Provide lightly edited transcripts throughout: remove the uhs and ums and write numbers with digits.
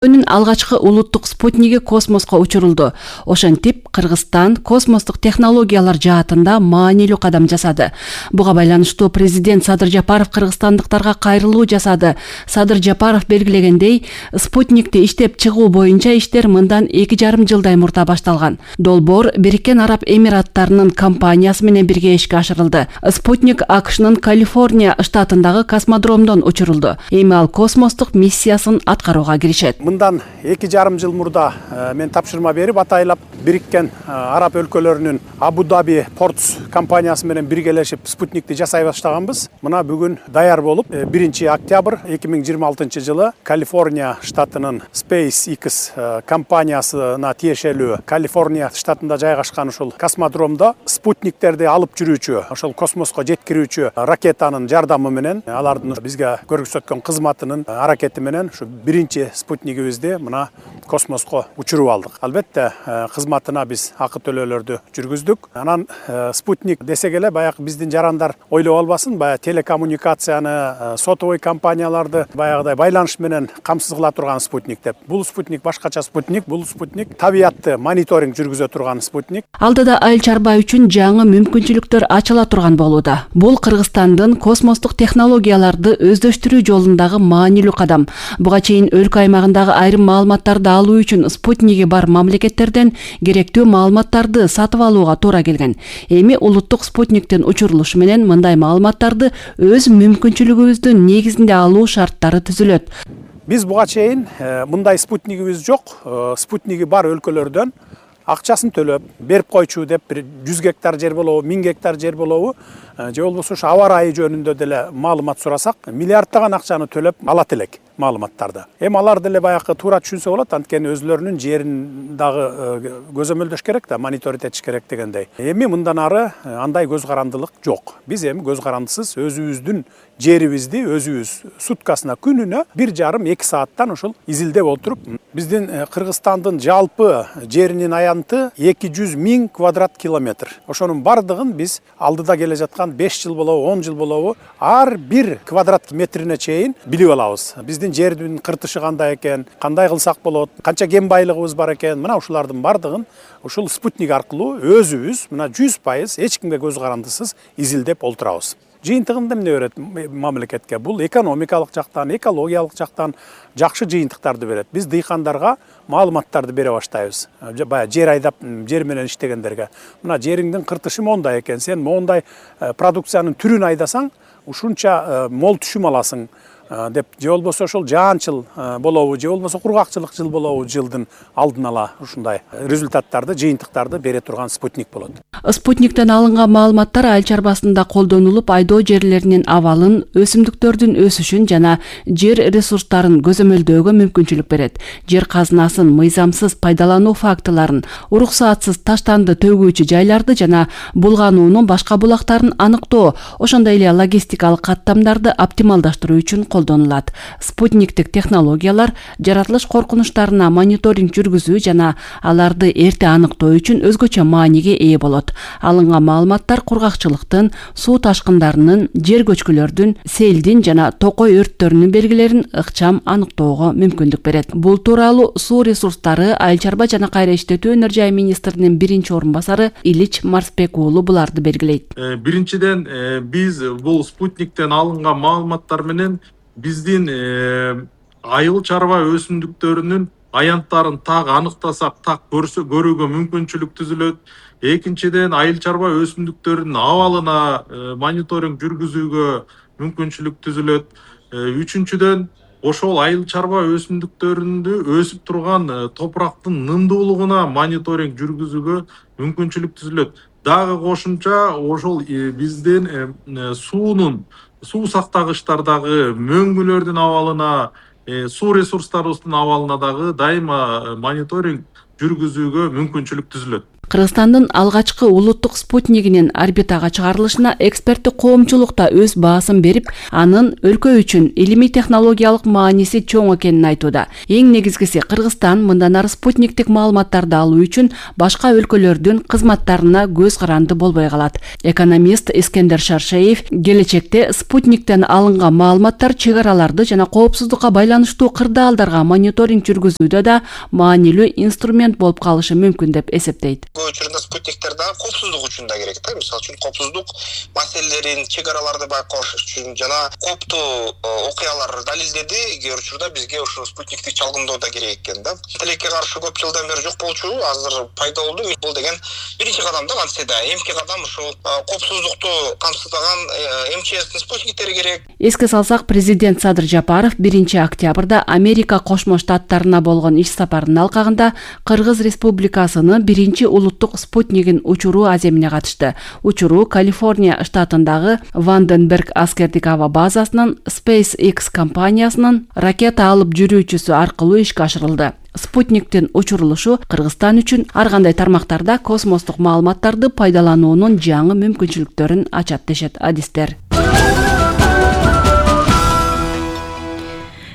Алгачкы улуттук спутниги космоско учурулду. Ошентип, Кыргызстан космостук технологиялар жаатында маанилүү кадам жасады. Буга байланыштуу президент Садыр Жапаров кыргызстандыктарга кайрылуу жасады. Садыр Жапаров белгилегендей, спутникти иштеп чыгуу боюнча иштер мындан 2,5 жылдай мурда башталган. Долбоор Бириккен Араб Эмираттарынын компаниясы менен бирге ишке ашырылды. Спутник АКШнын Калифорния штатындагы космодромдон учурулду. Эми ал космостук миссиясын аткарууга киришет. Мындан 2,5 жыл мурда мен тапшырма берип атайлап Бириккен Араб өлкөлөрүнүн Абу-Даби Портс компаниясы менен биргелешип спутникти жасай баштаганбыз. Мына бүгүн даяр болуп 1 октябрь 2026 жылы Калифорния штатынын SpaceX компаниясына тиешелүү Калифорния штатында жайгашкан ушул космодромдо спутниктерди алып жүрүүчү, ошол космоско жеткирүүчү ракетанын жардамы менен, алардын бизге көрсөткөн кызматынын аракети менен ушу 1 спутнигибизди мына космоско учуруп алдык. Албетте кызматына биз акы төлөөлөрдү жүргүздүк. Анан спутник десек эле баягы биздин жарандар ойлоп албасын, баягы телекоммуникацияны, сотовый компанияларды баягыдай байланыш менен камсыз кыла турган спутник деп. Бул спутник башкача спутник, бул спутник табиятты мониторинг жүргүзө турган спутник. Алдыда айыл чарба үчүн жаңы мүмкүнчүлүктөр ачыла турган болууда. Бул Кыргызстандын космостук технологияларды өздөштүрүү жолундагы маанилүү кадам. Буга чейин өлкө аймагындагы айрым маалыматтарды алуу үчүн спутниги бар мамлекеттерден керектүү маалыматтарды сатып алууга туура келген. Эми улуттук спутниктин учурулушу менен мындай маалыматтарды өз мүмкүнчүлүгүбүздүн негизинде алуу шарттары түзүлөт. Биз буга чейин мындай спутнигибиз жок. Спутниги бар өлкөлөрдөн акчасын төлөп берип койчу деп 100 гектар жер болобу, 1000 гектар жер болобу, же болбосо ушу аба ырайы жөнүндө деле маалымат сурасак, миллиарддаган акчаны төлөп алат элек маалыматтарды. Эми алар деле баягы туура түшүнсө болот, анткени өзлөрүнүн жерин дагы көзөмөлдөш керек да, мониторинг этиш керек дегендей. Эми мындан ары андай көз карандылык жок. Биз эми көз карандысыз өзүбүздүн жерибизди өзүбүз суткасына күнүнө 1,5-2 сааттан ушул изилдеп отуруп, биздин Кыргызстандын жалпы жеринин аянты 200 000 квадрат километр. Ошонун бардыгын биз алдыда келе жаткан 5 жыл болобу, 10 жыл болобу, ар бир квадрат метрине чейин билип алабыз. Биздин жердин кыртышы кандай экен, кандай кылсак болот, канча кен байлыгыбыз бар экен, мына ушулардын бардыгын ушул спутник аркылуу өзүбүз мына 100% эч кимге көз карандысыз изилдеп олтурабыз. Жыйынтыгында эмне берет мамлекетке? Бул экономикалык жактан, экологиялык жактан жакшы жыйынтыктарды берет. Биз дыйкандарга маалыматтарды бере баштайбыз. Баягы жер айдап, жер менен иштегендерге. Мына жериңдин кыртышы мондай экен, сен мондай продукциянын түрүн айдасаң, ушунча мол түшүм аласың деп, же болбосо ошол жаанчыл болобу, же болбосо кургакчылык жыл болобу, жылдын алдын ала ушундай результаттарды, жыйынтыктарды бере турган спутник болот. Спутниктен алынган маалыматтар айыл чарбасында колдонулуп, айдоо жерлеринин абалын, өсүмдүктөрдүн өсүшүн жана жер ресурстарын көзөмөлдөөгө мүмкүнчүлүк берет. Жер казынасын мыйзамсыз пайдалануу фактыларын, уруксаатсыз таштанды төгүүчү жайларды жана булгануунун башка булактарын аныктоо, ошондой эле логистикалык каттамдарды оптималдаштыруу үчүн колдонулат. Спутниктик технологиялар жаратылыш коркунучтарына мониторинг жүргүзүү жана аларды эрте аныктоо үчүн өзгөчө мааниге ээ болот. Алынган маалыматтар кургакчылыктын, суу ташкындарынын, жер көчкүлөрдүн, селдин жана токой өрттөрүнүн белгилерин ыкчам аныктоого мүмкүндүк берет. Бул тууралуу Суу ресурстары, айыл чарба жана кайра иштетүү өнөр жай министринин биринчи орун басары Илич Марсбек уулу буларды белгилейт. Биринчиден биз бул спутниктен алынган маалыматтар менен биздин айыл чарба өсүмдүктөрүнүн аянттарын так аныктасак, так көрүүгө мүмкүнчүлүк түзүлөт. Экинчиден айыл чарба өсүмдүктөрүнүн абалына мониторинг жүргүзүүгө мүмкүнчүлүк түзүлөт. Үчүнчүдөн ошол айыл чарба өсүмдүктөрүндө өсүп турган топурактын нымдуулугуна мониторинг жүргүзүүгө мүмкүнчүлүк түзүлөт. Дагы кошумча ошол биздин суу сактагычтардагы мөңгүлөрдүн абалына, суу ресурстарыбыздын абалына дагы дайыма мониторинг жүргүзүүгө мүмкүнчүлүк түзүлөт. Кыргызстандын алгачкы улуттук спутнигинин орбитага чыгарылышына эксперттик коомчулук да өз баасын берип, анын өлкө үчүн илимий технологиялык мааниси чоң экенин айтууда. Эң негизгиси Кыргызстан мындан ары спутниктик маалыматтарды алуу үчүн башка өлкөлөрдүн кызматтарына көз каранды болбой калат. Экономист Искендер Шаршеев келечекте спутниктен алынган маалыматтар чек араларды жана коопсуздукка байланыштуу кырдаалдарга мониторинг жүргүзүүдө да маанилүү инструмент болуп калышы мүмкүн деп эсептейт. Көп учурунда спутниктер да коопсуздук үчүн да керек да. Мисалы үчүн коопсуздук маселелерин, чек араларды байкош үчүн жана кооптуу окуялар далилдеди. Кээ бир учурда бизге ушул спутниктик чалгындоо да керек экен да. Тилекке каршы көп жылдан бери жок болчу, азыр пайда болду. Бул деген биринчи кадам да кантсе да. Эмки кадам ушул коопсуздукту камсыздаган МЧСтин спутниктери керек. Эске салсак, президент Садыр Жапаров 1-октябрда Америка Кошмо Штаттарына болгон иш сапарынын алкагында Кыргыз Республикасынын 1-улуттук спутнигин учуруу аземине катышты. Учуруу Калифорния штатындагы Ванденберг аскердик аба базасынын SpaceX компаниясынын ракета алып жүрүүчүсү аркылуу ишке ашырылды. Спутниктин учурулушу Кыргызстан үчүн ар кандай тармактарда космостук маалыматтарды пайдалануунун жаңы мүмкүнчүлүктөрүн ачат дешет адистер.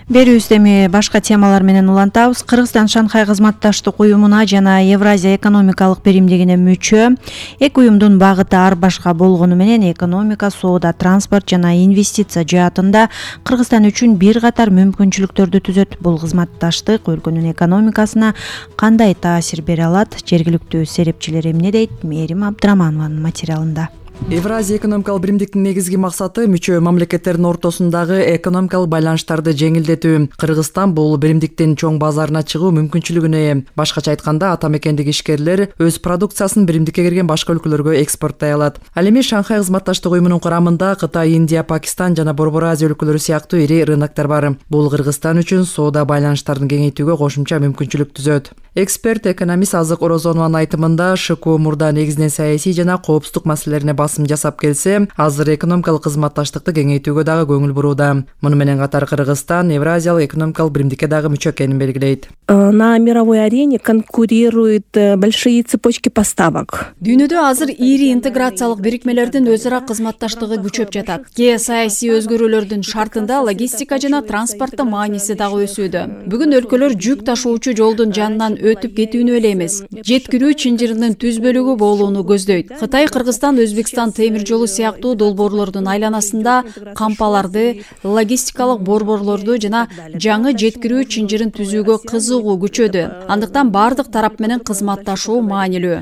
Берүүбүздө эми башка темалар менен улантабыз. Кыргызстан Шанхай кызматташтык уюмуна жана Евразия экономикалык биримдигине мүчө. Эки уюмдун багыты ар башка болгону менен экономика, соода, транспорт жана инвестиция жаатында Кыргызстан үчүн бир катар мүмкүнчүлүктөрдү түзөт. Бул кызматташтык өлкөнүн экономикасына кандай таасир бере алат? Жергиликтүү серепчилер эмне дейт? Мээрим Абдыраманованын материалында. Евразия экономикалык биримдиктин негизги максаты мүчө мамлекеттердин ортосундагы экономикалык байланыштарды жеңилдетүү. Кыргызстан бул биримдиктин чоң базарына чыгуу мүмкүнчүлүгүнө ээ. Башкача айтканда, ата мекендеги ишкерлер өз продукциясын биримдикке кирген башка өлкөлөргө экспорттой алат. Ал эми Шанхай кызматташтык уюмунун курамында Кытай, Индия, Пакистан жана Борбор Азия өлкөлөрү сыяктуу ири рыноктор бар. Бул Кыргызстан үчүн соода байланыштарын кеңейтүүгө кошумча мүмкүнчүлүк түзөт. Эксперт, экономист Азык Орозонованын айтымында, ШКУ мурда негизинен саясий жана коопсуздук маселелерине басым жасап келсе, азыр экономикалык кызматташтыкты кеңейтүүгө дагы көңүл бурууда. Муну менен катар Кыргызстан Евразиялык экономикалык биримдикке дагы мүчө экенин белгилейт. На мировой арене конкурируют большие цепочки поставок. Дүйнөдө азыр ири интеграциялык бирикмелердин өз ара кызматташтыгы күчөп жатат. Кээ саясий өзгөрүүлөрдүн шартында логистика жана транспорттун мааниси дагы өсүүдө. Бүгүн өлкөлөр жүк ташуучу жолдун жанынан өтүп кетүүнү эле эмес, жеткирүү чынжырынын түз бөлүгү болууну көздөйт. Кытай, Кыргызстан, Өзбекстан темир жолу сыяктуу долбоорлордун айланасында кампаларды, логистикалык борборлорду жана жаңы жеткирүү чынжырын түзүүгө кызыгуу күчөдү. Андыктан бардык тарап менен кызматташуу маанилүү.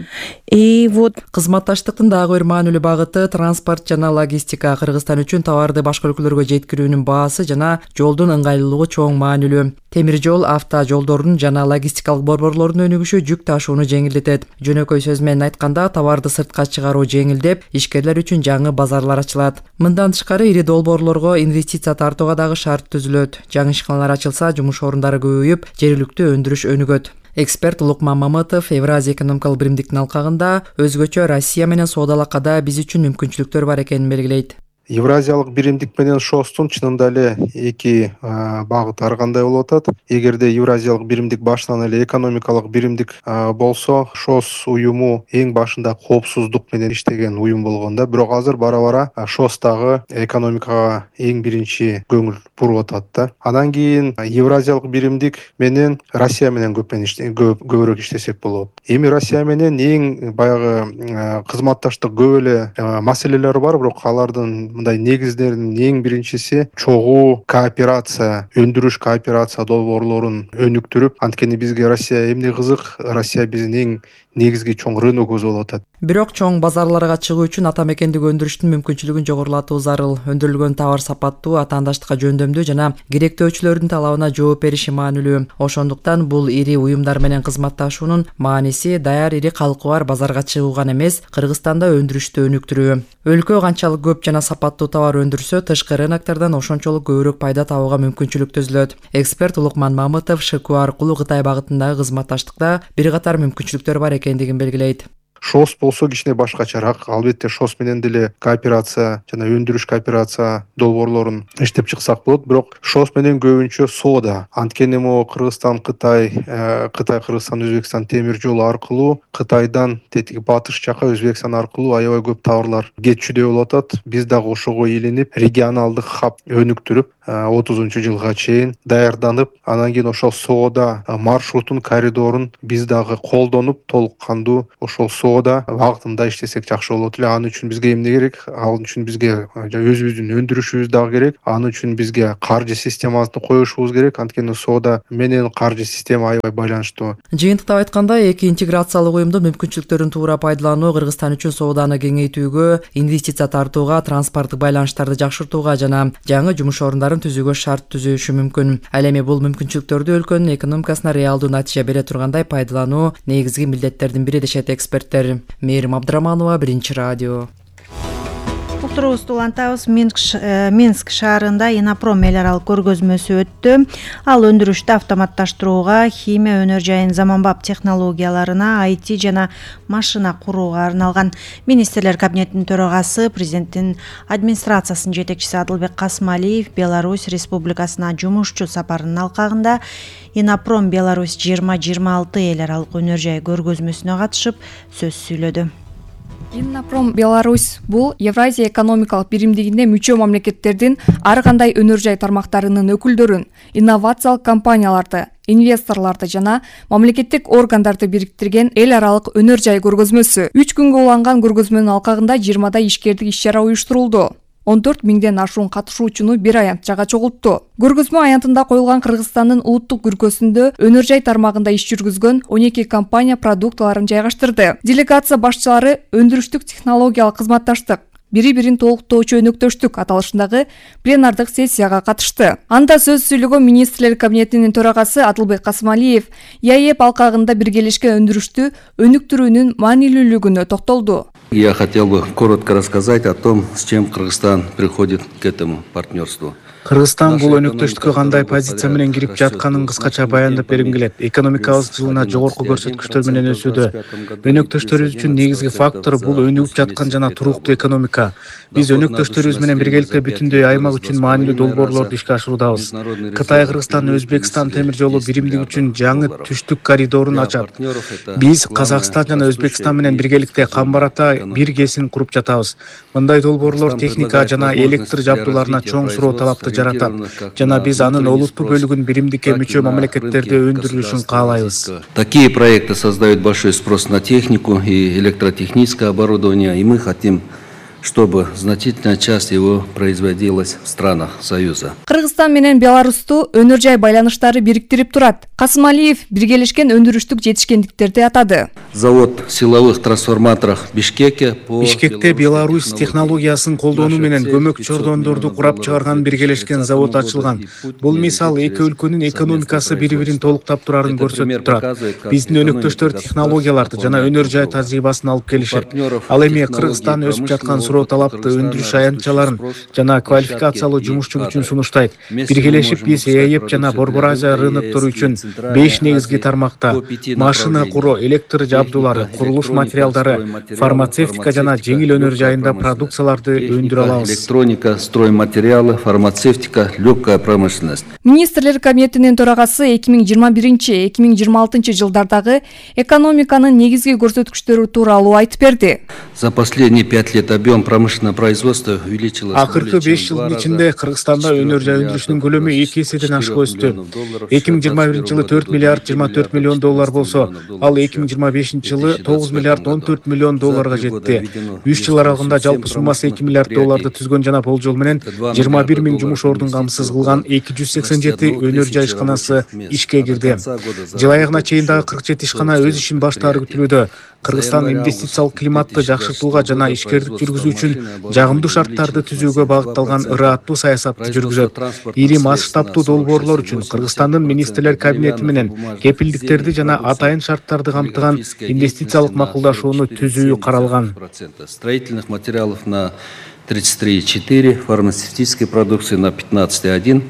Кызматташтыктын дагы бир маанилүү багыты транспорт жана логистика. Кыргызстан үчүн товарды башка өлкөлөргө жеткирүүнүн баасы жана жолдун ыңгайлуулугу чоң маанилүү. Темир жол автожолдордун жана логистикалык борборлордун өнүгүшү жүк ташууну жеңилдетет. Жөнөкөй сөз менен айтканда, товарды сыртка чыгаруу жеңилдеп, ишкерлер үчүн жаңы базарлар ачылат. Мындан тышкары ири долбоорлорго инвестиция тартууга дагы шарт түзүлөт. Жаңы ишканалар ачылса, жумуш орундары көбөйүп, жергиликтүү өндүрүш өнүгөт. Эксперт Лукман Мамытов Евразия экономикалык биримдиктин алкагында өзгөчө Россия менен соодалакада биз үчүн мүмкүнчүлүктөр бар экенин белгилейт. Евразиялык биримдик менен ШОСтун чынында эле эки багыт ар кандай болуп атат. Эгерде Евразиялык биримдик башынан эле экономикалык биримдик болсо, ШОС уюму эң башында коопсуздук менен иштеген уюм болгон да. Бирок азыр бара-бара ШОС дагы экономикага эң биринчи көңүл буруп атат да. Андан кийин Евразиялык биримдик менен Россия менен көбүрөөк иштесек болот. Эми Россия менен эң баягы кызматташтык көп эле маселелер бар, бирок алардын мындай негиздеринин эң биринчиси чогуу кооперация, өндүрүш кооперация долбоорлорун өнүктүрүп, анткени бизге Россия эмне кызык, Россия биздин эң негизги чоң рыногубуз болуп атат. Бирок чоң базарларга чыгуу үчүн ата мекендик өндүрүштүн мүмкүнчүлүгүн жогорулатуу зарыл. Өндүрүлгөн товар сапаттуу, атаандаштыкка жөндөмдүү жана керектөөчүлөрдүн талабына жооп бериши маанилүү. Ошондуктан бул ири уюмдар менен кызматташуунун мааниси даяр ири калкы бар базарга чыгуу гана эмес, Кыргызстанда өндүрүштү өнүктүрүү. Өлкө канчалык көп жана сапаттуу товар өндүрсө, тышкы рыноктордон ошончолук көбүрөөк пайда табууга мүмкүнчүлүк түзүлөт. Эксперт Лукман Мамытов ШКУ аркылуу Кытай багытындагы кызматташтыкта бир катар мүмкүнчүлүктөр бар экендигин белгилейт. ШОС болсо кичине башкачараак. Албетте ШОС менен деле кооперация жана өндүрүш кооперация долбоорлорун иштеп чыксак болот. Бирок ШОС менен көбүнчө соода. Анткени могу Кыргызстан, Кытай, Кыргызстан, Өзбекстан темир жолу аркылуу Кытайдан тетиги батыш жака Өзбекстан аркылуу аябай көп товарлар кетчүдөй болуп атат. Биз дагы ошого илинип, регионалдык хаб өнүктүрүп 30-жылга чейин даярданып, анан кийин ошол соода маршрутун, коридорун биз дагы колдонуп, толук кандуу ошол соода багытында иштесек жакшы болот эле. Ал үчүн бизге эмне керек? Ал үчүн бизге өзүбүздүн өндүрүшүбүз дагы керек. Ал үчүн бизге каржы системасын коюшубуз керек. Анткени соода менен каржы система аябай байланыштуу. Жыйынтыктап айтканда, эки интеграциялык уюмдун мүмкүнчүлүктөрүн туура пайдалануу Кыргызстан үчүн сооданы кеңейтүүгө, инвестиция тартууга, транспорттук байланыштарды жакшыртууга жана жаңы жумуш орундарын түзүүгө шарт түзүшү мүмкүн. Ал эми бул мүмкүнчүлүктөрдү өлкөнүн экономикасына реалдуу натыйжа бере тургандай пайдалануу негизги милдеттердин бири дешет эксперттер. Мээрим Абдыраманова, Биринчи радио. Уктуруубузду улантабыз. Минск шаарында Инопром эл аралык көргөзмөсү өттү. Ал өндүрүштү автоматташтырууга, химия өнөр жайын заманбап технологияларына, IT жана машина курууга арналган. Министрлер кабинетинин төрагасы, президенттин администрациясынын жетекчиси Адылбек Касымалиев Беларусь Республикасына жумушчу сапарынын алкагында Инопром Беларусь 2026 эл аралык өнөр жай көргөзмөсүнө катышып сөз сүйлөдү. Инопром Беларусь бул Евразия экономикалык биримдигине мүчө мамлекеттердин ар кандай өнөр жай тармактарынын өкүлдөрүн, инновациялык компанияларды, инвесторлорду жана мамлекеттик органдарды бириктирген эл аралык өнөр жай көргөзмөсү. 3 күнгө уланган көргөзмөнүн алкагында 20 ишкердик иш-чара уюштурулду. 14 миңден ашуун катышуучуну бир аянтчага чогултту. Көргөзмө аянтында коюлган Кыргызстандын улуттук күркөсүндө өнөр жай тармагында иш жүргүзгөн 12 компания продуктларын жайгаштырды. Делегация башчылары өндүрүштүк технологиялык кызматташтык, бири-бирин толуктоочу өнөктөштүк аталышындагы пленардык сессияга катышты. Анда сөз сүйлөгөн министрлер кабинетинин төрагасы Адылбек Касымалиев ЯЭП алкагында биргелешкен өндүрүштү өнүктүрүүнүн маанилүүлүгүнө токтолду. Я хотел бы коротко рассказать о том, с чем Кыргызстан приходит к этому партнерству. Кыргызстан бул өнөктөштүккө кандай позиция менен кирип жатканын кыскача баяндап бергим келет. Экономикабыз жылына жогорку көрсөткүчтөр менен өсүүдө. Өнөктөштөрүбүз үчүн негизги фактор бул өнүгүп жаткан жана туруктуу экономика. Биз өнөктөштөрүбүз менен биргеликте бүтүндөй аймак үчүн маанилүү долбоорлорду ишке ашыруудабыз. Кытай, Кыргызстан, Өзбекстан темир жолу биримдиги үчүн жаңы түштүк коридорун ачат. Биз Казакстан жана Өзбекстан менен биргеликте камбарата бир кесин куруп жатабыз. Мындай долбоорлор техника жана электр жабдууларына чоң суроо талапты жаратат жана биз анын олуттуу бөлүгүн биримдикке мүчө мамлекеттерде өндүрүлүшүн каалайбыз. Такие проекты создают большой спрос на технику и электротехническое оборудование, и мы хотим, чтобы значительная часть его производилась в странах Союза. Кыргызстан менен Беларусту өнөр жай байланыштары бириктирип турат. Касымалиев биргелешкен өндүрүштүк жетишкендиктерди атады. Завод силовых трансформаторов Бишкекте Беларусь технологиясын колдонуу менен көмөк чордондорду курап чыгарган биргелешкен завод ачылган. Бул мисал эки өлкөнүн экономикасы бири-бирин толуктап турарын көрсөтүп турат. Биздин өнөктөштөр технологияларды жана өнөр жай тажрыйбасын алып келишет. Ал эми Кыргызстан өсүп жаткан суроо талапты өндүрүш аянтчаларын жана квалификациялуу жумушчу күчүн сунуштайт. Биргелешип биз ЯЭП жана Борбор Азия рыноктору үчүн 5 негизги тармакта машина куруу, электр жабдуулары, курулуш материалдары, фармацевтика жана жеңил өнөр жайында продукцияларды өндүрө алабыз. Электроника, стройматериалы, фармацевтика, легкая промышленность. Министрлер кабинетинин төрагасы 2021-2026 жылдардагы экономиканын негизги көрсөткүчтөрү тууралуу айтып берди. За последние 5 лет объем промышленного производства увеличилось. Акыркы 5 жылдын ичинде Кыргызстанда өнөр жай өндүрүшүнүн көлөмү 2 эседен ашык өстү. 2021 жылы 4 миллиард 24 миллион доллар болсо, ал 2025 жылы 9 миллиард 14 миллион долларга жетти. 3 жыл аралыгында жалпы суммасы 2 миллиард долларды түзгөн жана болжол менен 21 миң жумуш ордун камсыз кылган 287 өнөр жай ишканасы ишке кирди. Жыл аягына чейин дагы 47 ишкана өз ишин баштаары күтүлүүдө. Кыргызстан инвестициялык климатты жакшыртууга жана ишкердик жүргүзүү үчүн жагымдуу шарттарды түзүүгө багытталган ырааттуу саясатты жүргүзөт. Ири масштабтуу долбоорлор үчүн Кыргызстандын министрлер кабинети менен кепилдиктерди жана атайын шарттарды камтыган инвестициялык макулдашууну түзүү каралган. Строительных материалов на 33,4, фармацевтической продукции на 15,1,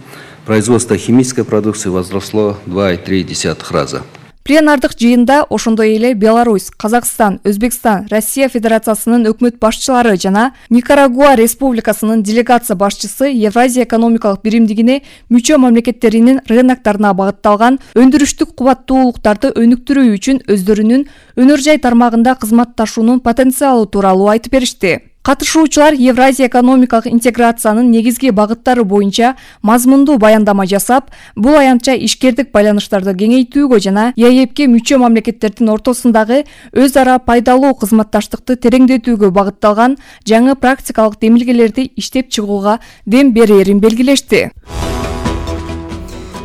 производство химической продукции возросло 2,3 раза. Пленардык жыйында ошондой эле Беларусь, Казакстан, Өзбекстан, Россия Федерациясынын өкмөт башчылары жана Никарагуа Республикасынын делегация башчысы Евразия экономикалык биримдигине мүчө мамлекеттеринин рыноктарына багытталган өндүрүштүк кубаттуулуктарды өнүктүрүү үчүн өздөрүнүн өнөр жай тармагында кызматташуунун потенциалы тууралуу айтып беришти. Катышуучулар Евразия экономикалык интеграциянын негизги багыттары боюнча мазмундуу баяндама жасап, бул аянтча ишкердик байланыштарды кеңейтүүгө жана ЕАЭПке мүчө мамлекеттердин ортосундагы өз ара пайдалуу кызматташтыкты тереңдетүүгө багытталган жаңы практикалык демилгелерди иштеп чыгууга дем берерин белгилешти.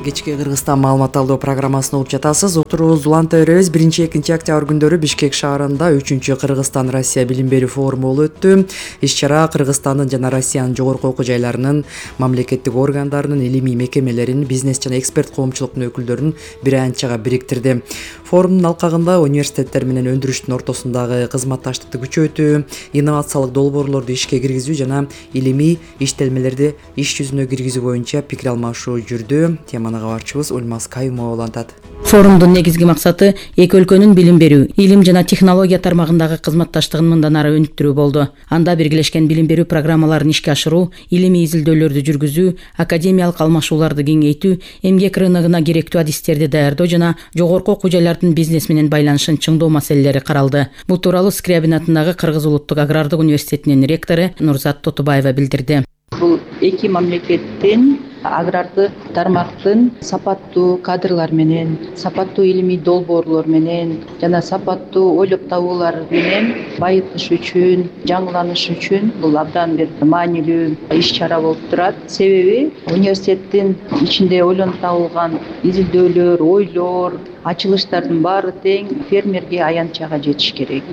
Кечки Кыргызстан маалымат алуу программасын угуп жатасыз. Отурубузду уланта беребиз. 1-2 октябрь күндөрү Бишкек шаарында 3-чү Кыргызстан-Россия билим берүү форуму болуп өттү. Иш-чара Кыргызстандын жана Россиянын жогорку окуу жайларынын, мамлекеттик органдарынын, илимий мекемелеринин, бизнес жана эксперт коомчулуктун өкүлдөрүн бир аянтчага бириктирди. Форумдун алкагында университеттер менен өндүрүштүн ортосундагы кызматташтыкты күчөтүү, инновациялык долбоорлорду ишке киргизүү жана илимий иштелмелерди иш жүзүнө киргизүү боюнча пикир алмашуу жүрдү. Теманы кабарчыбыз Ульмаз Каюмова улантат. Форумдун негизги максаты эки өлкөнүн билим берүү, илим жана технология тармагындагы кызматташтыгын мындан ары өнүктүрүү болду. Анда биргелешкен билим берүү программаларын ишке ашыруу, илимий изилдөөлөрдү жүргүзүү, академиялык алмашууларды кеңейтүү, эмгек рыногуна керектүү адистерди даярдоо жана жогорку окуу жайлардын бизнес менен байланышын чыңдоо маселелери каралды. Бул тууралуу Скрябин атындагы Кыргыз улуттук агрардык университетинин ректору Нурзат Тотубаева билдирди. Бул эки мамлекеттин агрардык тармактын сапаттуу кадрлар менен, сапаттуу илимий долбоорлор менен жана сапаттуу ойлоп табуулар менен байытыш үчүн, жаңыланыш үчүн бул абдан бир маанилүү иш-чара болуп турат. Себеби университеттин ичинде ойлонуп табылган изилдөөлөр, ойлор, ачылыштардын баары тең фермерге, аянтчага жетиш керек.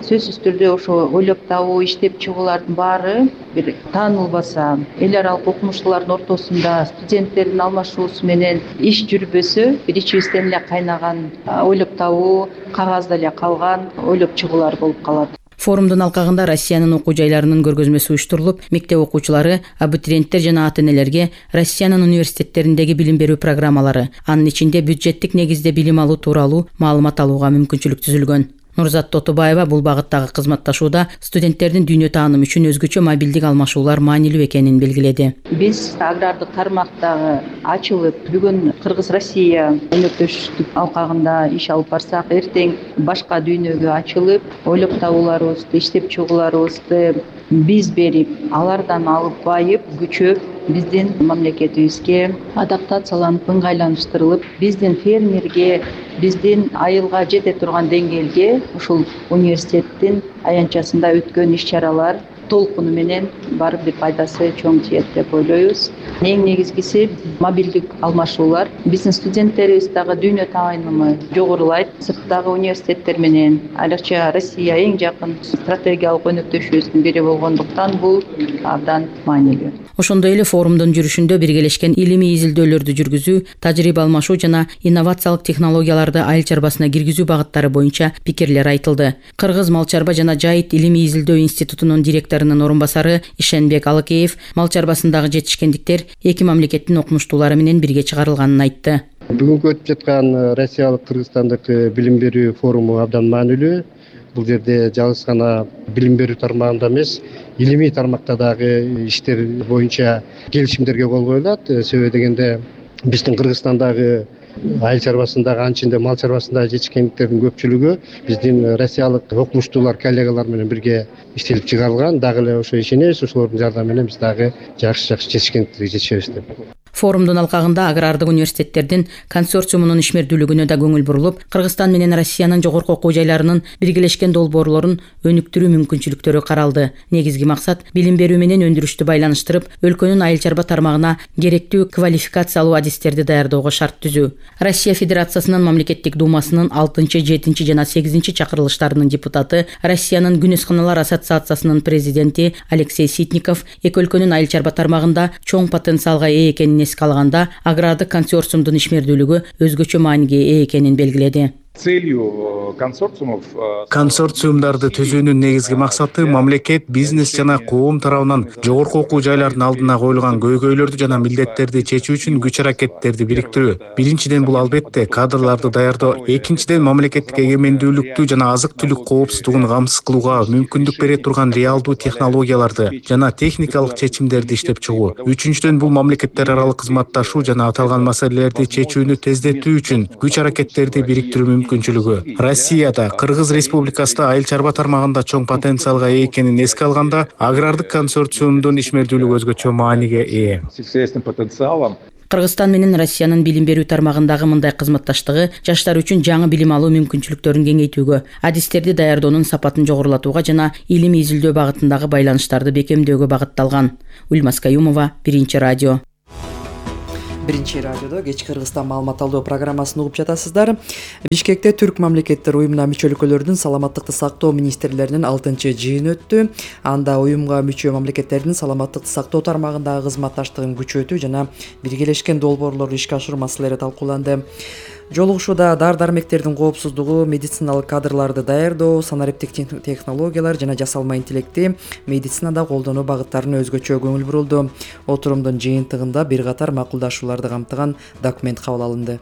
Сөзсүз түрдө ошо ойлоп табуу, иштеп чыгуулардын баары бир таанылбаса, эл аралык окумуштуулардын ортосунда студенттердин алмашуусу менен иш жүрбөсө, бир ичибизден эле кайнаган ойлоп табуу, кагазда эле калган ойлоп чыгуулар болуп калат. Форумдун алкагында Россиянын окуу жайларынын көргөзмөсү уюштурулуп, мектеп окуучулары, абитуриенттер жана ата-энелерге Россиянын университеттериндеги билим берүү программалары, анын ичинде бюджеттик негизде билим алуу тууралуу маалымат алууга мүмкүнчүлүк түзүлгөн. Нурзат Тотубаева бул багыттагы кызматташууда студенттердин дүйнө таанымы үчүн өзгөчө мобилдик алмашуулар маанилүү экенин белгиледи. Биз агрардык тармактагы ачылып, бүгүн Кыргыз-Россия өнөктөштүк алкагында иш алып барсак, эртең башка дүйнөгө ачылып, ойлоп табууларыбызды, иштеп чыгууларыбызды биз берип, алардан алып байып, күчөп, биздин мамлекетибизге адаптацияланып, ыңгайланыштырылып, биздин фермерге, биздин айылга жете турган деңгээлге ушул университеттин аянтчасында өткөн иш-чаралар толкуну менен барып бир пайдасы чоң тиет деп ойлойбуз. Эң негизгиси мобилдик алмашуулар. Биздин студенттерибиз дагы дүйнө таанымы жогорулайт. Сырттагы университеттер менен, айрыкча Россия эң жакын стратегиялык өнөктөшүбүздүн бири болгондуктан бул абдан маанилүү. Ошондой эле форумдун жүрүшүндө биргелешкен илимий изилдөөлөрдү жүргүзүү, тажрыйба алмашуу жана инновациялык технологияларды айыл чарбасына киргизүү багыттары боюнча пикирлер айтылды. Кыргыз мал чарба жана жайыт илимий изилдөө институтунун директорунун орун басары Ишенбек Алыкеев мал чарбасындагы жетишкендиктер эки мамлекеттин окумуштуулары менен бирге чыгарылганын айтты. Бүгүнкү өтүп жаткан Россиялык Кыргызстандык билим берүү форуму абдан маанилүү. Бул жерде жалгыз гана билим берүү тармагында эмес, илимий тармакта дагы иштер боюнча келишимдерге кол коюлат. Себеби дегенде биздин Кыргызстандагы айыл чарбасындагы, анчында мал чарбасындагы жетишкендиктердин көпчүлүгү биздин россиялык окумуштуулар, коллегалар менен бирге иштелип чыгарылган. Дагы эле ошо ишенебиз, ошолордун жардамы менен биз дагы жакшы жетишкендиктерге жетишебиз деп. Форумдун алкагында агрардык университеттердин консорциумунун ишмердүүлүгүнө да көңүл бурулуп, Кыргызстан менен Россиянын жогорку окуу жайларынын биргелешкен долбоорлорун өнүктүрүү мүмкүнчүлүктөрү каралды. Негизги максат билим берүү менен өндүрүштү байланыштырып, өлкөнүн айыл чарба тармагына керектүү квалификациялуу адистерди даярдоого шарт түзүү. Россия Федерациясынын мамлекеттик думасынын 6, 7 жана 8 чакырылыштарынын депутаты, Россиянын Күнөсканалар ассоциациясынын президенти Алексей Ситников эки өлкөнүн айыл чарба тармагында чоң потенциалга ээ экенин эске алганда, агрардык консорциумдун ишмердүүлүгү өзгөчө мааниге ээ экенин белгиледи. Целью консорциумов консорциумдарды түзүүнүн негизги максаты мамлекет, бизнес жана коом тарабынан жогорку окуу жайлардын алдына коюлган көйгөйлөрдү жана милдеттерди чечүү үчүн күч аракеттерди бириктирүү. Биринчиден бул албетте кадрларды даярдоо, экинчиден мамлекеттик эгемендүүлүктү жана азык-түлүк коопсуздугун камсыз кылууга мүмкүндүк бере турган реалдуу технологияларды жана техникалык чечимдерди иштеп чыгуу. Үчүнчүдөн бул мамлекеттер аралык кызматташуу жана аталган маселелерди чечүүнү тездетүү үчүн күч аракеттерди бириктирүү мүмкүнчүлүгү. Россияда, Кыргыз Республикасында айыл чарба тармагында чоң потенциалга ээ экенин эске алганда, агрардык консорциумдун ишмердүүлүгү өзгөчө мааниге ээ. Кыргызстан менен Россиянын билим берүү тармагындагы мындай кызматташтыгы жаштар үчүн жаңы билим алуу мүмкүнчүлүктөрүн кеңейтүүгө, адистерди даярдоонун сапатын жогорулатууга жана илимий изилдөө багытындагы байланыштарды бекемдөөгө багытталган. Ульмас Каюмова, Биринчи радио. Биринчи радиодо кечки Кыргызстан маалымат алдоо программасын угуп жатасыздар. Бишкекте Түрк мамлекеттер уюмуна мүчө өлкөлөрдүн саламаттыкты сактоо министрлеринин 6-жыйыны өттү. Анда уюмга мүчө мамлекеттердин саламаттыкты сактоо тармагындагы кызматташтыгын күчөтүү жана биргелешкен долбоорлорду ишке ашыруу маселелери талкууланды. Жолугушууда дары-дармектердин коопсуздугу, медициналык кадрларды даярдоо, санариптик технологиялар жана жасалма интеллекти медицинада колдонуу багыттарына өзгөчө көңүл бурулду. Отурумдун жыйынтыгында бир катар макулдашууларды камтыган документ кабыл алынды.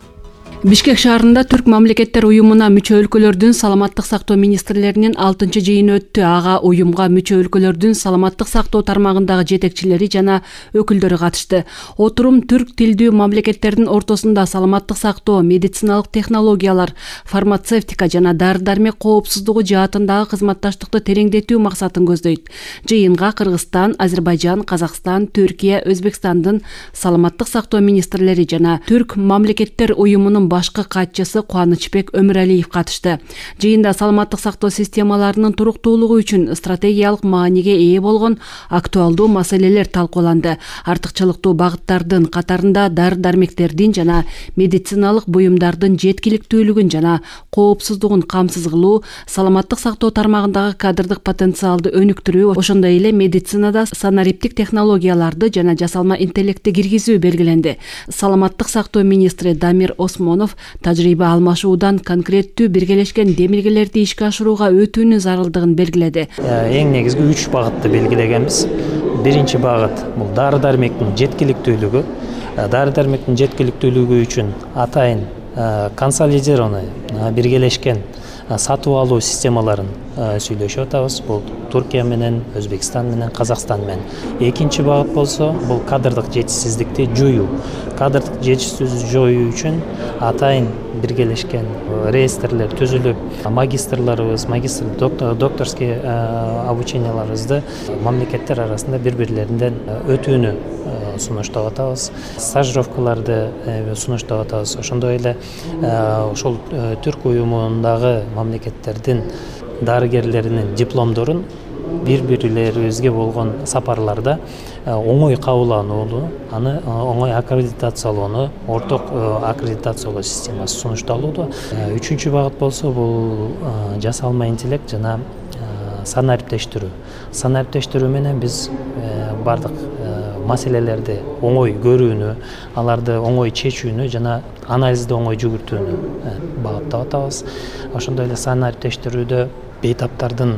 Бишкек шаарында Түрк мамлекеттер уюмуна мүчө өлкөлөрдүн саламаттык сактоо министрлеринин 6-жыйыны өттү. Ага уюмга мүчө өлкөлөрдүн саламаттык сактоо тармагындагы жетекчилери жана өкүлдөрү катышты. Отурум түрк тилдүү мамлекеттердин ортосунда саламаттык сактоо, медициналык технологиялар, фармацевтика жана дары-дармек коопсуздугу жаатындагы кызматташтыкты тереңдетүү максатын көздөйт. Жыйынга Кыргызстан, Азербайжан, Казакстан, Түркия, Өзбекстандын саламаттык сактоо министрлери жана Түрк мамлекеттер уюмунун башкы катчысы Кубанычбек Өмүралиев катышты. Жыйында саламаттык сактоо системаларынын туруктуулугу үчүн стратегиялык мааниге ээ болгон актуалдуу маселелер талкууланды. Артыкчылыктуу багыттардын катарында дары-дармектердин жана медициналык буюмдардын жеткиликтүүлүгүн жана коопсуздугун камсыз кылуу, саламаттык сактоо тармагындагы кадрдык потенциалды өнүктүрүү, ошондой эле медицинада санариптик технологияларды жана жасалма интеллектти киргизүү белгиленди. Саламаттык сактоо министри Дамир Осмонов тажрыйба алмашуудан конкреттүү биргелешкен демилгелерди ишке ашырууга өтүүнүн зарылдыгын белгиледи. Эң негизги 3 багытты белгилегенбиз. Биринчи багыт бул дары-дармектин жеткиликтүүлүгү. Дары-дармектин жеткиликтүүлүгү үчүн атайын консолидированный биргелешкен сатып алуу системаларын сүйлөшүп атабыз. Бул Түркия менен, Өзбекстан менен, Казакстан менен. Экинчи багыт болсо, бул кадрдык жетишсиздикти жоюу. Кадрдык жетишсиздикти жоюу үчүн атайын биргелешкен реестрлер түзүлүп, магистрларыбыз, докторский обученияларыбызды мамлекеттер арасында бири-бирлеринен өтүүнү сунуштап атабыз. Стажировкаларды сунуштап атабыз. Ошондой эле ошол Түрк уюмундагы мамлекеттердин дарыгерлеринин дипломдорун бири-бирлерибизге болгон сапарларда оңой кабылданууну, аны оңой аккредитациялоону, орток аккредитациялоо системасы сунушталууда. Үчүнчү багыт болсо, бул жасалма интеллект жана санариптештирүү. Санариптештирүү менен биз бардык маселелерди оңой көрүүнү, аларды оңой чечүүнү жана анализди оңой жүгүртүүнү багыттап атабыз. Ошондой эле санариптештирүүдө бейтаптардын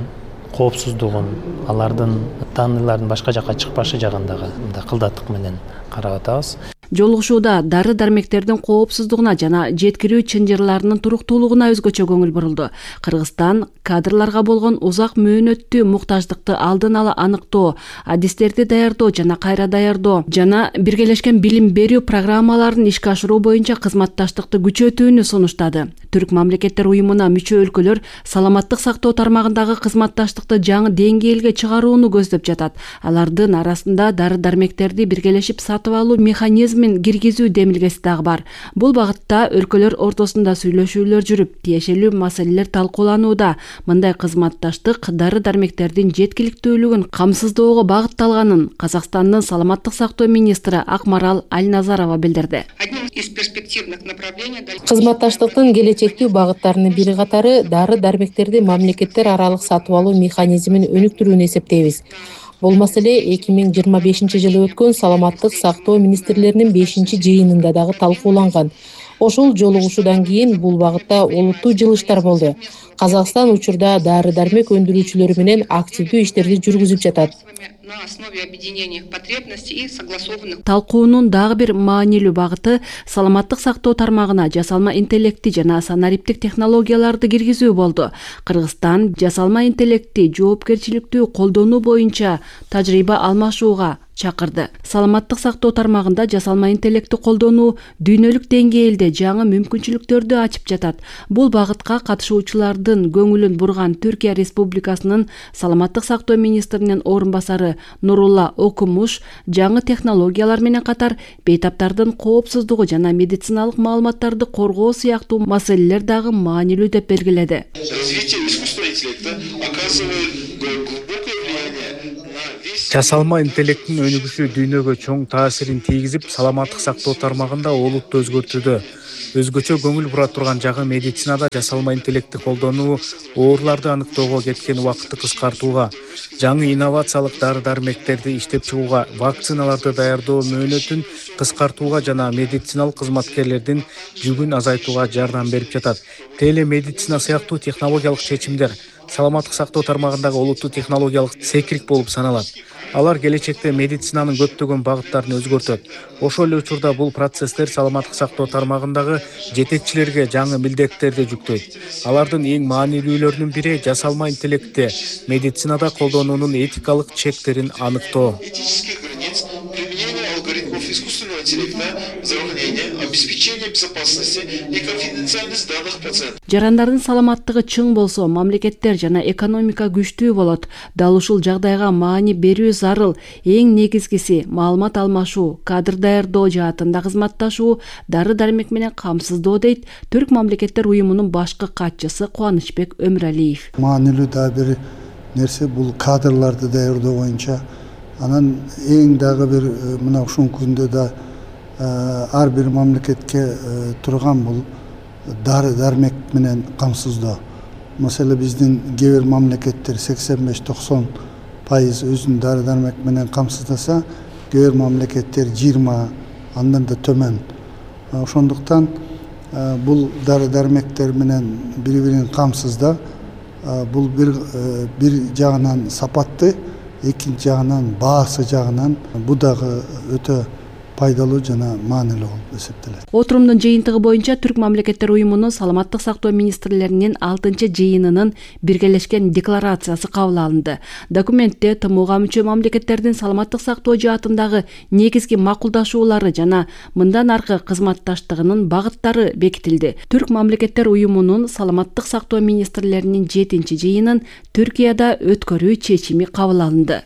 коопсуздугун, алардын данныйлардын башка жакка чыкпашы жагындагы кылдаттык менен карап атабыз. Жолугушууда дары-дармектердин коопсуздугуна жана жеткирүү чынжырларынын туруктуулугуна өзгөчө көңүл бурулду. Кыргызстан кадрларга болгон узак мөөнөттүү муктаждыкты алдын ала аныктоо, адистерди даярдоо жана кайра даярдоо жана биргелешкен билим берүү программаларын ишке ашыруу боюнча кызматташтыкты күчөтүүнү сунуштады. Түрк мамлекеттер уюмуна мүчө өлкөлөр саламаттык сактоо тармагындагы кызматташтыкты жаңы деңгээлге чыгарууну көздөп жатат. Алардын арасында дары-дармектерди биргелешип сатып алуу механизмин киргизүү демилгеси дагы бар. Бул багытта өлкөлөр ортосунда сүйлөшүүлөр жүрүп, тиешелүү маселелер талкууланууда. Мындай кызматташтык дары-дармектердин жеткиликтүүлүгүн камсыздоого багытталганын Казакстандын саламаттык сактоо министри Акмарал Альназарова билдирди. Кызматташтыктын келечектүү багыттарынын бири катары дары-дармектерди мамлекеттер аралык сатып алуу механизмин өнүктүрүүнү эсептейбиз. Бул маселе 2025-жылы өткөн саламаттык сактоо министрлеринин 5-жыйынында дагы талкууланган. Ошол жолугушуудан кийин бул багытта олуттуу жылыштар болду. Казакстан учурда дары-дармек өндүрүүчүлөр менен активдүү иштерди жүргүзүп жатат. На основе объединения потребностей и согласованных. Талкуунун дагы бир маанилүү багыты саламаттык сактоо тармагына жасалма интеллекти жана санариптик технологияларды киргизүү болду. Кыргызстан жасалма интеллекти жоопкерчиликтүү колдонуу боюнча тажрыйба алмашууга чакырды. Саламаттык сактоо тармагында жасалма интеллекти колдонуу дүйнөлүк деңгээлде жаңы мүмкүнчүлүктөрдү ачып жатат. Бул багытка катышуучулардын көңүлүн бурган Түркия Республикасынын саламаттык сактоо министринин орун басары Нурулла Окумуш жаңы технологиялар менен катар бейтаптардын коопсуздугу жана медициналык маалыматтарды коргоо сыяктуу маселелер дагы маанилүү деп белгиледи. Развитие искусственного интеллекта оказывает глубокое влияние на весь. Жасалма интеллекттин өнүгүшү дүйнөгө чоң таасирин тийгизип, саламаттык сактоо тармагында олутту өзгөртүүдө. Өзгөчө көңүл бура турган жагы медицинада жасалма интеллекти колдонуу ооруларды аныктоого кеткен убакытты кыскартууга, жаңы инновациялык дары-дармектерди иштеп чыгууга, вакциналарды даярдоо мөөнөтүн кыскартууга жана медициналык кызматкерлердин жүгүн азайтууга жардам берип жатат. Телемедицина сыяктуу технологиялык чечимдер саламаттык сактоо тармагындагы олуттуу технологиялык секирик болуп саналат. Алар келечекте медицинанын көптөгөн багыттарын өзгөртөт. Ошол эле учурда бул процесстер саламаттык сактоо тармагындагы жетекчилерге жаңы милдеттерди жүктөйт. Алардын эң маанилүүлөрүнүн бири жасалма интеллектти медицинада колдонуунун этикалык чектерин аныктоо. Алгоритмов искусственного интеллекта, здравоохранения, обеспечение безопасности и конфиденциальность данных пациентов. Жарандардын саламаттыгы чың болсо, мамлекеттер жана экономика күчтүү болот. Дал ушул жагдайга маани берүү зарыл. Эң негизгиси маалымат алмашуу, кадр даярдоо жаатында кызматташуу, дары-дармек менен камсыздоо дейт Түрк мамлекеттер уюмунун башкы катчысы Кубанычбек Өмүралиев. Маанилүү да бир нерсе бул кадрларды даярдоо боюнча. Анан эң дагы бир мына ушул күндө да ар бир мамлекетке турган бул дары-дармек менен камсыздоо. Маселе биздин кээ бир мамлекеттер 85-90% өзүн дары-дармек менен камсыздаса, кээ бир мамлекеттер 20, андан да төмөн. Ошондуктан бул дары-дармектер менен бири-бирин камсыздоо бул бир жагынан сапатты, экинчи жагынан баасы жагынан бул дагы өтө пайдалуу жана маанилүү болуп эсептелет. Отурумдун жыйынтыгы боюнча Түрк мамлекеттер уюмунун саламаттык сактоо министрлеринин 6-жыйынынын биргелешкен декларациясы кабыл алынды. Документте ТМОга мүчө мамлекеттердин саламаттык сактоо жаатындагы негизги макулдашуулары жана мындан аркы кызматташтыгынын багыттары бекитилди. Түрк мамлекеттер уюмунун саламаттык сактоо министрлеринин 7-жыйынын Түркияда өткөрүү чечими кабыл алынды.